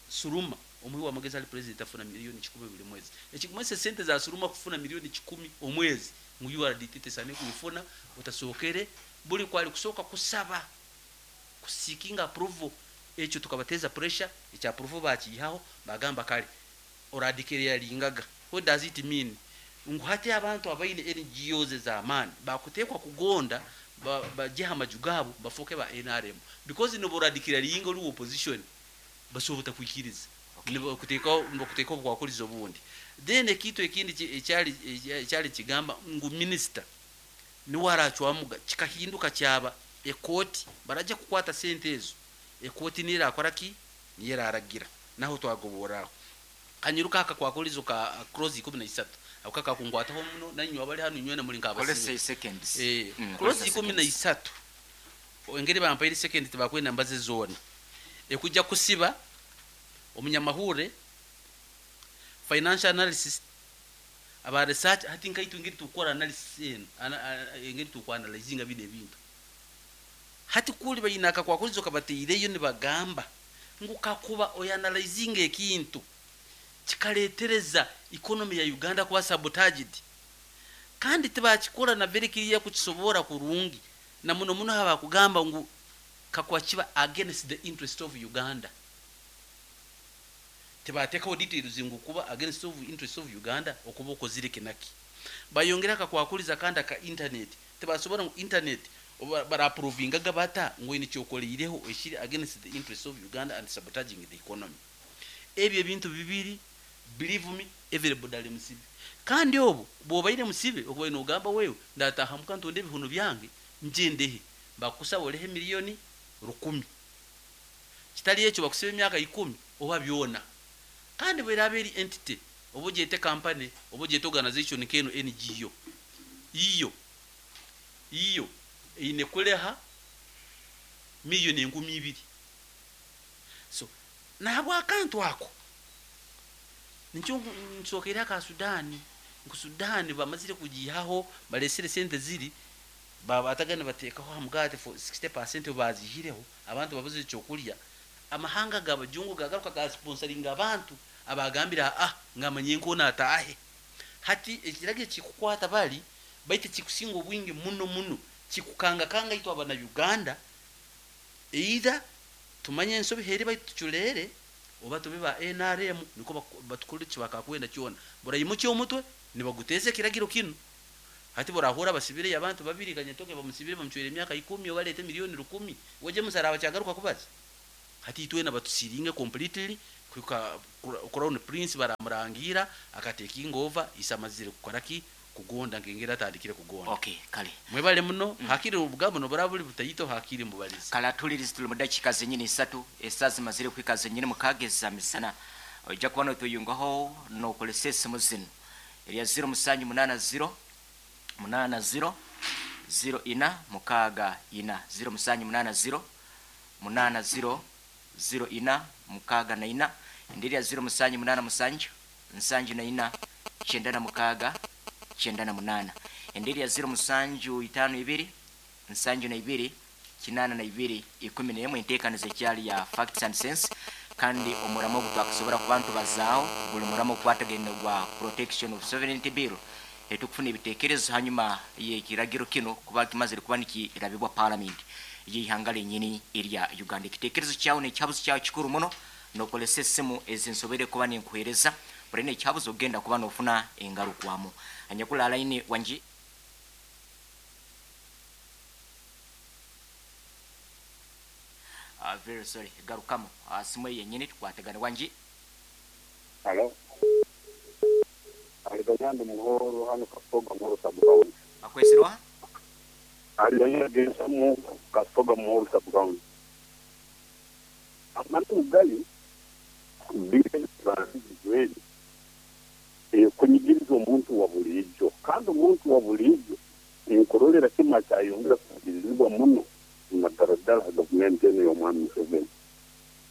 Suruma omuhi w'amagezi ali president afuna miliyoni 1,000 buli mwezi ekikumanyisa sente za Suruma kufuna miliyoni 1,000 omwezi ngu URDT tesane kuifuna otasookere buli kwali kusooka kusaba kuseeking approval ekyo tukabateza pressure ekya approval bakiihaho bagamba kale oradeclaringaga. What does it mean? Ngu hati abantu abaine NGOs ez'amaani bakuteekwa kugonda bagihe amaju gaabo bafooke ba NRM because noba oradeclaringa ori opposition basobola butakwikiriza nibakuteekaho obukwakurizo obundi. Then ekintu ekindi ekyali kigamba ngu minister niwe aracwamuga kikahinduka kyaba ekooti barajja kukwata sente ezo ekooti niyo erakora ki niyo eraragira naho twagoboraho kanyiruka aka kwakurizo ka clause 13 ako kakakunkwataho muno nanywe abali hanu nywena muri nk'abasibe. Kolesa seconds. Clause Kolesa ikumi na seconds. isatu engeri bampaire second tibakwenda mbaze zoona ekujja kusiba omunyamahure financial analysis aba research hati nkaitu engeri tukukora analysis enu engeri tukuanalyzinga bino ebintu hati kuli baine akakwakurizo kabateireyo nibagamba ngu kakuba oyanalyzinga ekintu kikaretereza economy ya Uganda kuba sabotaged kandi tibakikora na very clear kukisobora kurungi na muno muno haba kugamba ngu kakuba kiba against the interest of Uganda tibatekaho details ngu kuba against of interest of Uganda okuba okozire kinaki bayongera akakwakuriza kandi aka internet tibasobora ngu internet barapprovingaga bata ngu ine kyokoleireho ekiri against the interest of Uganda and sabotaging the economy. Ebyo ebintu bibiri believe me everybody ali musibe kandi obu bwobaire musibe okubaire nogamba wewe ndataha muka ntonde ebihuno byange njendehe bakusaba olehe miliyoni 10,000 kitali ekyo bakusiba emyaka 10 oba byona kandi bweraba eri entity oba ogyete company oba ogyete organization nk'eno NGO iyo iyo eine kureha miliyoni 2,000 so nahabwa akantu ako nikyo nsokeire aka Sudani ngu Sudani bamazire kugihaho balesire sente ziri babatagana batekaho hamugati for 60% bazihireho abantu babuze ekyokurya amahanga gabajungu gagaruka ga sponsoringa abantu abagambira ngamanye nkona atahe hati ekirage kikukwata bali baite kikusinga obwingi muno muno kikukanga kanga itwa abana Uganda either tumanye ensobi heri baitu tuculere Oba tube ba NRM nikwo batukorire ekibakakwenda kyona. Buraimukya omutwe nibaguteza ekiragiro kinu. Hati borahura basibireyo abantu babiri Kanyetoke bamusibire bamucwire emyaka ikumi oba aleete milioni rukumi. We James araba akyagaruka kubaza? Hati itwena batusiringe completely kuhika Crown Prince baramurangiira aka taking over ise amazire kukora ki? Kugonda nk'engeri atandikire kugonda. Okay, kale. Mwebale muno, hakiri obugambo noburaba buri butaito hakiri mbubalize. Kale atuhulirize tuli mu dakiika zenyini isatu, esaaha zimazire kuhika zenyini mukaaga eza misana. Oija kuba notweyungaho nokozesa esimu zinu erya ziro musanju munaana ziro, munaana ziro, ziro ina mukaaga ina, ziro musanju munaana ziro, munaana ziro, ziro ina mukaaga na ina, endi erya ziro musanju munaana musanju, nsanju na ina, kyenda na mukaaga, kyenda na munaana, endi erya ziro musanju itaano ibiri, nsanju na ibiri, kinaana na ibiri, 11. Enteekaniza ekyali ya Facts and Sense, kandi omuramo ogu twakusobora kuba nitubazaaho guli muramo ogukwatagaine gwa Protection of Sovereignty Bill, etukufuna ebitekerezo hanyuma y'ekiragiro kinu kuba kimazire kuba nikirabibwa Palamenti y'eihanga lyenyini erya Uganda. Ekitekerezo kyawe n'ekihabuzo kyawe kikuru muno. Nokozesa esimu ezi nsoboire kuba ninkuheereza, buri n'ekihabuzo ogenda kuba nofuna engarukwamu. Anyakuli line wangi. Very sorry, garukamu simu eyo yenyini tukwatagane wangi. Halo. Aliganyandi Muhoro hano Kasoga Muhoro sub county. Akwesirwa? Aliganyandi Gensamu Kasoga Muhoro sub county. Amantu gali biri kunyigiriza omuntu wa bulijo, kandi omuntu wa bulijo inkorolera kima kyayongera kugirizibwa muno madaradara gavumenti eno y'omwami Museveni.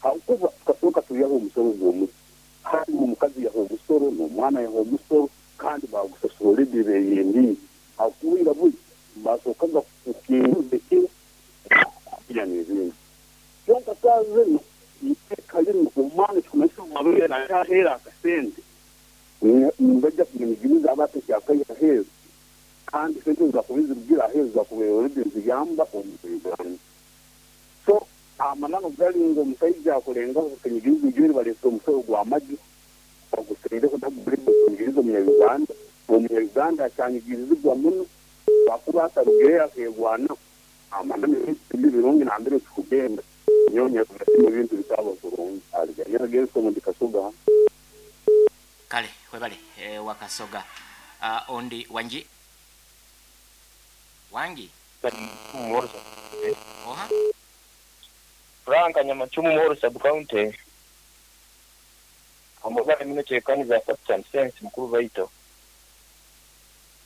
Hakuba tukasooka tuyaho omusoro gw'omuti, kandi omukazi yaha omusoro n'omwana yaha omusoro, kandi bagusasura already beyendire. Hakuba buli basookaga kukinguza ekiro ya n'ebindi. Kyonka saaha zino iteeka lino omwana ekikumanyisa owabeera nayaheera akasente, nibajja kumunyigiriza aba atekyakaiha aheeru, kandi sente zakuba zirugire aheeru zakuba already ziyamba omu Uganda. So amananu gali ngu omusaija akurengaho kunyigiriza ijweri baleeta omusoro gw'amagi baguseireho nagurikunyigiriza omunya-Uganda. Omunya-Uganda akyanyigirizibwa muno bakuba atarugireyo akeegwanaho. Amananu tibi birungi nambere tukugenda nyonya tunasima ebintu bitaba kurungi. Aliganyana Genso ndi Kasoga. Kale webale wakasoga. Ondi wangi wangi oha Frank Nyamachumu Muhoro sub county. Amubale mino tekaniza Facts and Sense mukuru baito.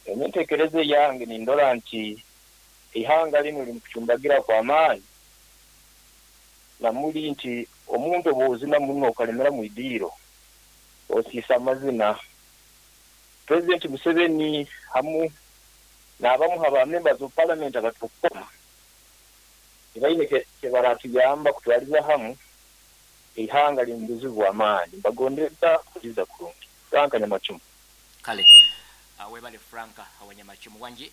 Enyentekereze yange nindora nti ihanga lino limukuchumbagira kwa amaani, namuli nti omuntu obuzina muno okalemera mu idiiro osiisa amazina. President Museveni hamu n'abamu aba members of parliament abatukoma tibaine kyebaratuyamba kutwaliza hamu ihanga liri mu buzibu bw'amaani. Mbagondeza kuliza kurungi. Frank Nyamachumu. Kale webale Frank Wanyamachumu. Wangi.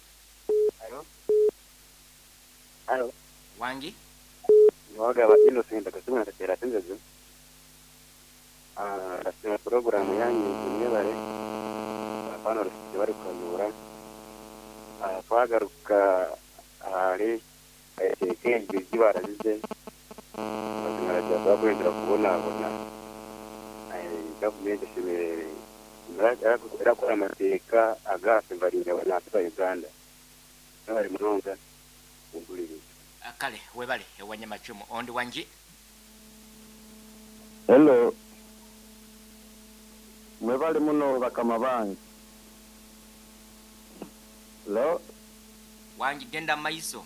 Halo. Halo. Wangi. Niwagaba Innocent akasimu natatera tenzezo. Ndasima programu yanyu mwebale. Apana rusiti bari kukayura. Twagaruka ahari ekengi barazize. Bazimara bakwendera kubonabona. Gavumenti eshemereire erakora amateeka agafe barinda abantu ba Uganda. Bari munonga uguliriza. Kale webale Wanyamachumu. Ondi wangi. Hello. Mwebale muno bakama bange. Hello. Wangi genda maiso.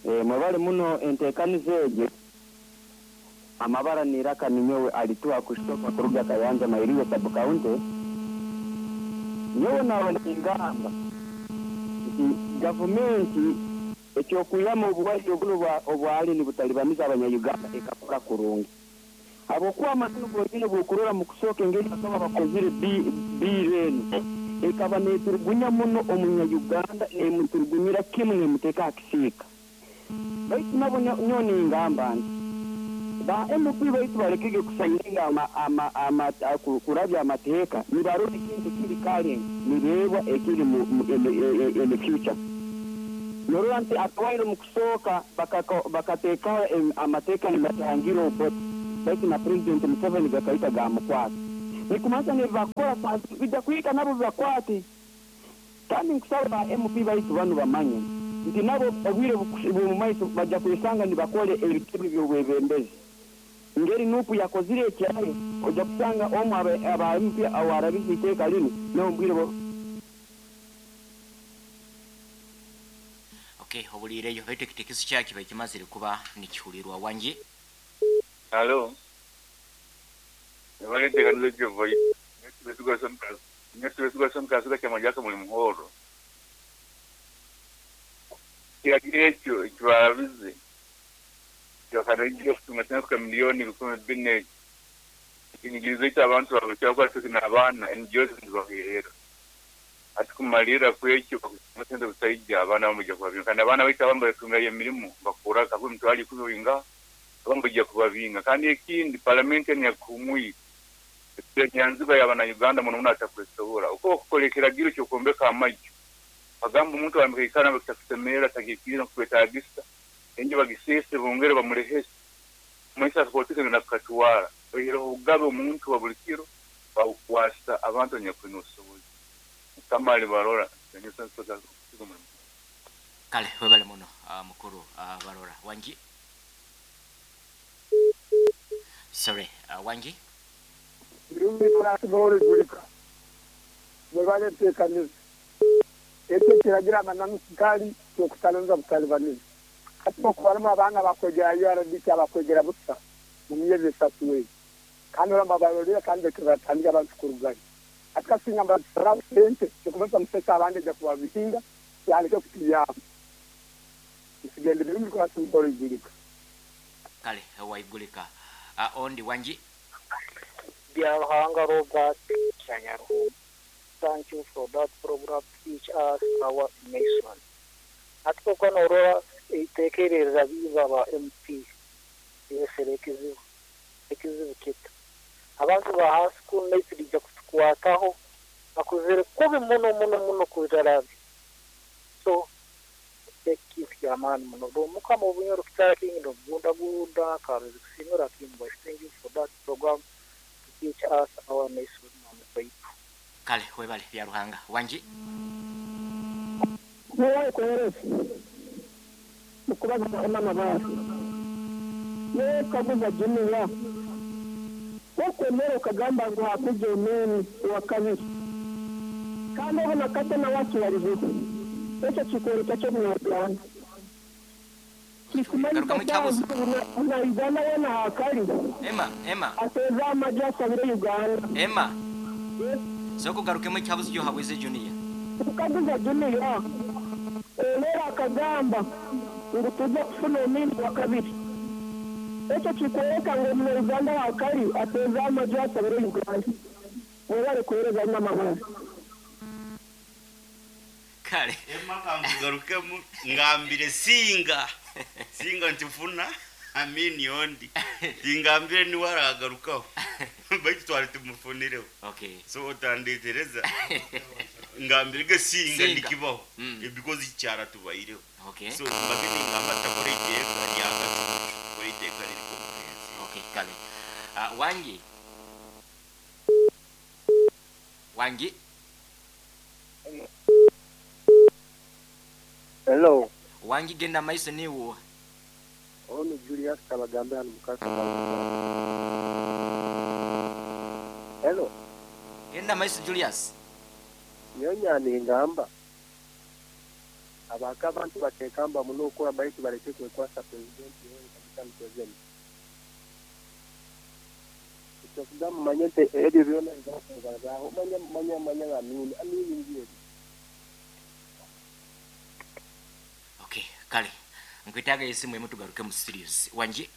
Mwebale muno entekaniza egyo. Amabara niraka ninyowe alituwa kushoka kuruga Kayanja Mairiwe sub county. Nyowe nawe ningamba nti gavumenti ekyokuyama obuwaire obuno obwali nibutalibaniza abanya-Uganda ekakora kurungi. Habwokuba amananu gonyine bw'okurora mu kusooka engeri bakaba bakozire bill eno ekaba neeturugunya muno omunya-Uganda, neemuturugunyira kimu neemuteeka aha kisiika. Baitu nabo nyowe ningamba nti Ba MP baitu balekege kusayininga ama, ama, ama, kurabya amateeka nibarora ekintu ekiri current nibeebwa ekiri mu, mu, in, the, in the future. Norora nti akawaire omu kusooka bakateekaho amateeka nibatangira Obote baitu na President Museveni gakahika gamukwata. Nikumanyisa n'ebibakukora saaha zinu bija kuhika nabo bibakwate. Kandi nkusaba ba MP baitu banu bamanye nti nabo obwire bw'omumaiso baja kwesanga nibakora ebitebe by'obwebembezi. Ngeri Nup yakozire ekyayo, oja kusanga omu aba MP owarabize iteeka linu nawe omu bwire bwo. Okay, obuliireyo baitu ekitekezo kyawe kibaire kimazire kuba nikihulirwa. Wangi? Halo. Mwebale enteekaniza egyo Voice. Nyowe Tibesigwa Son Kasiga Kyamagye aka muri Muhoro. Ekiragiro ekyo eki baarabize kibakaragiire kutunga sente kuhika miliyooni 4,000 ekyo ekinyigirizo eki abantu baabwe ahabw'okuba twine abaana NGOs nizibaheerera. Hati kumariirira kw'ekyo bakutunga sente butaija abaana bamwe baija kubabinga kandi abaana baitu abamwe baritungayo emirimo bakora nka 10,000 oingaha abamwe baija kubabinga kandi ekindi paramenti enu eyakuhumwire Enyanzigwa ya bana-Uganda muno muno atakwesobora. Oku bakukora ekiragiro ky'okwombeka amaju, bagamba omuntu arambika aikara nambere kitakusemerra, tagiikiriza nkukwetagisa, enju bagiseese bongere bamulehese. Kumanyisa akakooti kanu nakukatwara. Oihireho obugabe omuntu wa buli kiro babukwasa abantu abanyakwine obusobozi. Mukama alibarora. Kale webale muno mukuru Barora. Wangi? Sorry, wangi? Birungi Francis Igulika mwebale entekaniza. Ekyo ekiragiro amananu gali kyokutalinza butalibaniza. Hati bokubaramu abaana abakwegera URDT abakwegera busa mu myezi esatu egi kandi oraba babarorire kandi batandike abantu kurugayo. Hati kasinga nibatusaraho sente ekikumanyisa musesa abandi eja kubabihinga yaleke kutuyamba. Nsigende Birungi Francis Igulika. Kale waigulika. Ondi wangi? Byaruhanga Robert Kyanyaruhumba thank you for that program to teach us our nation. Hati kwonka norora eiteeka eri rirabiiba aba MP riresere ekizibu ekizibu kita abantu ba hansi kunu naitwe riija kutukwataho akuzire kubi muno muno muno kurirarabya so eki kintu kyamaani muno Mukama obunyoro kitara kingi nobugundagunda karuzi kusimira kimu thank you for that program to teach us our nation and baitu. Kale webale Byaruhanga. Wangi? Nyowe kuhereza mukubaza Emma Mabare. Nyowe kaguza Junior wokwemera okagamba ngu hakwija Amin owakabiri kandi obu nakate nawe akibarizeho ekyo kikworeka ki omunyarwanda Kikumanyisa Garukamu ekyabuzo. Muna Uganda weena ahakari Emma, Emma. ateeze amaju asabire Uganda. Emma. Sooka ogarukemu ekihabuzo kyohabwize Junior. Nkaguza Junior Olera akagamba ngu tuza kufuna Amin owakabiri ekyo kikworeka ngu omunya Uganda ahakari ateeze amaju asabire Uganda. Mwebare kuhereza Emma Mabare. Kale. Emma kankugarukemu ngambire singa singa ntifuna Amin ondi tingambire niwe aragarukaho baitu twari tumufunireho. Okay. So otandetereza ngambire ge singa Singa. nikibaho because ikyara tubaireho. Okay. So mbage ningamba takora iteeka ryakacucu kora iteeka riri comprehensive. Okay, kale. Wangi. Wangi. Hello. Wangi genda maiso niwo. Ono Julius Kabagambe hano mukasa. Hello. Genda maiso Julius. Nyonya ningamba. Abaka abantu batekamba muno okora baitu bareke kwekwasa president Yoweri Kaguta Museveni. Ekyo manye nti ebyo byona bizakubazaho manya manya manya Amini Amini ngiye. Okay, kale. Nkwetaaga esimu emu tugaruke mu studios. Wangi.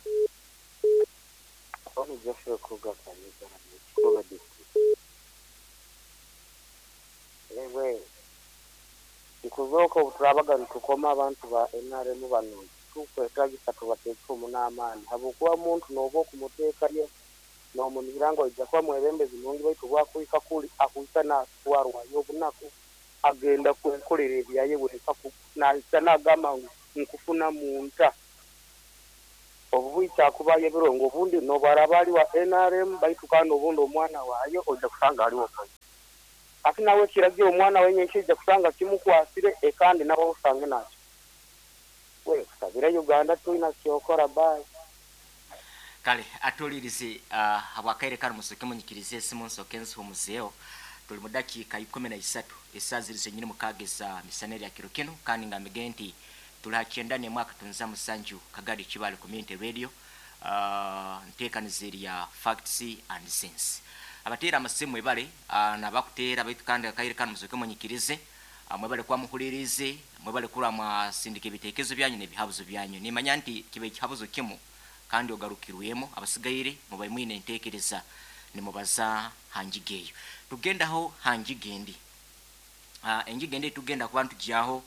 Ono Joshua Kuga Kanyuka Kikuba district. Ewe. Ikuzoka obuturabaga nitukoma abantu ba NRM bano Tukwetagisa tubateekeho muno amaani habwokuba omuntu nooba okumuteekayo noomunihira ngu aija kuba mwebembezi murungi baitu obu akuhika kuli akuhika naatwarwayo obunaku agenda kwekolera ebyaye wenka nahika naagamba ngu nkufunamu nta? Obu bwikya kubayo ebirongo obundi noobu araaba ari wa nrm baitu kandi obundi omwana waayo oija kusanga ari opposition. Hati nawe ekiragiro omwana we nyenkya oija kusanga kimukwasire ekandi nawe osange nakyo. We kusabira Uganda twina kyokora bye. Kale atulirize habwakaire kanu musoke munyikirize esimu nsoke nzihumuzeeho. Tuli mu dakiika 13 esaaha ziri zenyini mukaaga eza misana erya kiro kinu, kandi ngambige nti tuli ha 91.7 Kagadi Kibaale Community Radio, nteekaniza erya Facts and Sense. Abateera amasimu mwebale, nabakuteera baitu kandi akaire kanu musoke munyikirize, mwebale kuba muhulirize, mwebale kuba mwasindika ebiteekerezo byanyu n'ebihabuzo byanyu. Nimanya nti kiba ekihabuzo kimu kandi ogarukirwemu, abasigaire mubaye mwine enteekereza nimubaza hanjiga eyo. Tugendaho hanjiga endi. Enjiga endi tugenda kuba ntugyaho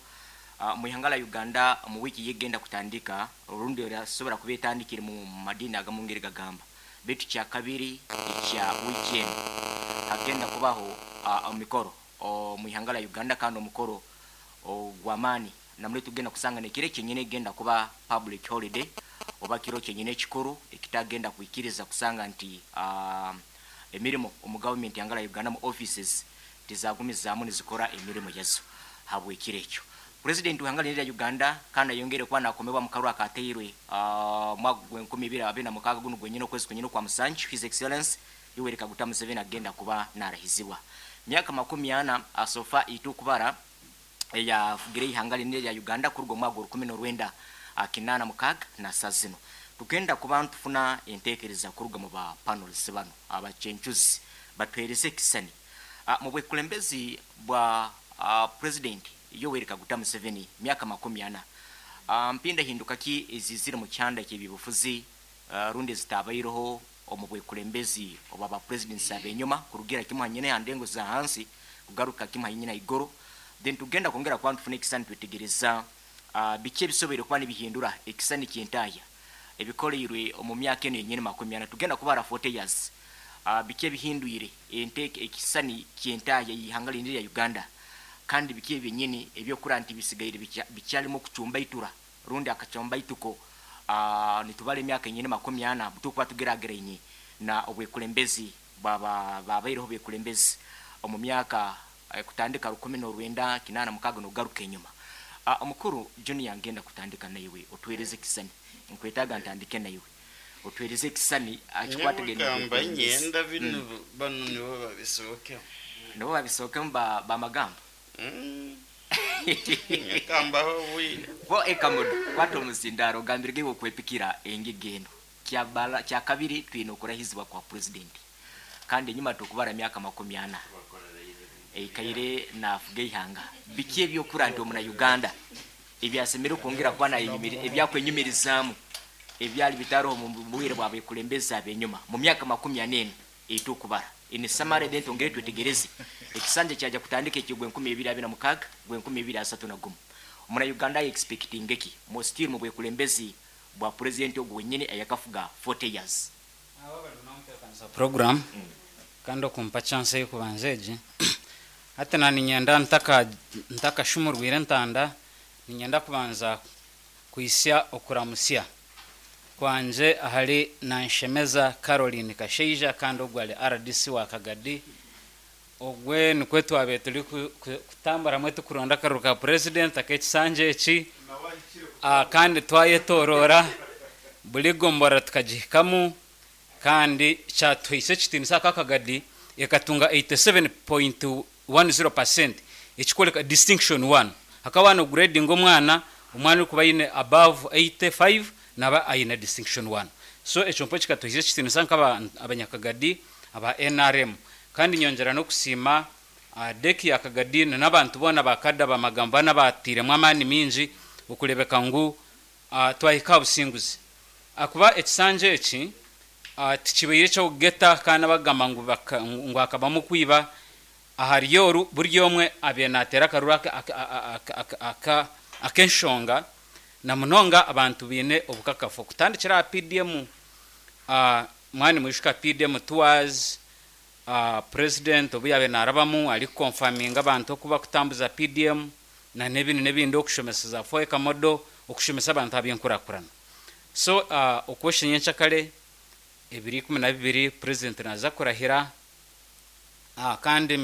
mu ihanga lya Uganda mu wiiki yegenda kutandika, orundi erasobora kuba etandikire mu madini agamu ngeri gagamba. Baitu kya kabiri ekya wiiki eno hagenda kubaho omikoro mu ihanga lya Uganda, kandi omukoro ogw'amaani namuli tugenda kusanga nekiro kyenyine egenda kuba public holiday oba kiro kyenyine ekikuru ekitagenda kwikiriza kusanga nti emirimo omu gavumenti ihanga lya Uganda mu offices tizagumizaamu nizikora emirimo yazo habw'ekiro ekyo. President w'ihanga lya Uganda kandi ayongere kuba nakomebwa mu karuru akateirwe mwaka gw'enkumi ibiri abiri na mukaaga guno gwenyine okwezi kwenyine okwa musanju, His Excellency Yoweri Kaguta Museveni agenda kuba narahizibwa. Myaka 40 asofa itukubara eyafugire ihanga linene lya Uganda kuruga omwaka gwa 1986 na saa zino. Tugenda kuba ntufuna enteekereza kuruga mu ba panelists bano abachenchuzi batuhereze ekisani mu bwekulembezi bwa President Yoweri Kaguta Museveni myaka 40. Mpinda hinduka ki ezizire mu kyanda ky'ebyobufuzi rundi ezitabaireho omu bwekulembezi oba ba presidents abenyuma kurugira kimu hanyine ha ndengo za hansi kugaruka kimu hanyine igoro. Then tugenda kwongera kuba ntufuna ekisani twetegereza biki ebisoboire kuba nibihindura ekisani ky'entaaya ebikoleirwe omu myaka eno yenyini 40. Tugenda kubara 40 years. Biki ebihindwire ekisani ky'entaaya y'ihanga lindi lya Uganda, kandi biki ebyenyini ebyokura nti bisigaire bikyalimu okucumbaitura rundi akacumbaituko. Nitubara emyaka yenyini 40 butukuba tugerageraine na obwekulembezi babaireho obwekulembezi omu myaka kutandika 1986 nogaruka enyuma. Omukuru Junior ngenda kutandika naiwe otwereze ekisani, nkwetaaga ntandike naiwe otwereze ekisani akikwatagenda Nyamugamba nyenda bino bano nibo babisookemu. Nibo babisookemu bamagamba. Nyakambaho bwire. Bo ekamudu kwata omusindaro ogambirwe iwe okwepikira engiga eno. Kya kabiri twine okurahizibwa kwa president, kandi enyuma tukubara myaka 40 eikaire nafuga ihanga. Biki ebyokura nti omuna Uganda ebyasemere kwongera kuba ebyakwenyumirizaamu ebyali bitariho mu bwire bwa bekulembezi abenyuma mu myaka 40 eno etukubara. Ini samare then tongere twetegereze ekisanja kyaja kutandika ekigwe 2026 gwe 2031. Omuna Uganda expecting eki mu still mu bwekulembezi bwa president ogwo wenyine ayakafuga 40 years. Program kandi okumpa chance y'okubanza egi hati na ninyenda ntakashumurwire entanda, ninyenda kubanza kwisya okuramusya kwanje ahari Nanshemeza Caroline Kasheija kandi ogwo ari RDC wa Kagadi. Ogwe nikwe twabe turi kutambura mwe tukuronda akaruru ka president ak'ekisanja eki, kandi twayetorora buri gombora tukagihikamu, kandi kyatuhaise ekitiinisa aka Kagadi ekatunga 87.10% ekikoreka distinction 1. Hakaba no grading omwana, omwana orikuba aine above 85 naba aine distinction 1. So ekyo mpo kikatuhaise ekitiinisa nk'aba abanyakagadi aba NRM. Kandi nyongera n'okusiima deki ya Kagadi n'abantu boona bakada bamagambo bana batiiremu amaani mingi okurebeka ngu twahika aha businguzi. Akuba ekisanja eki tikibaire eky'okugeta kandi abagamba ngu hakabamu kwiba ahari oru buri omwe abaire nateera akaruru ak'enshonga. Na munonga abantu biine obukakafu okutandikira aha PDM, mwaba nimwijuka PDM tours, president obu yaabaire naarabamu arikukonfaminga abantu oku bakutambuza PDM na n'ebindi n'ebindi okushomesa za Foeka model, okushomesa abantu aha by'enkurakurana. So okwosha nyenkyakare ebiro 12 president naaza kurahira kandi.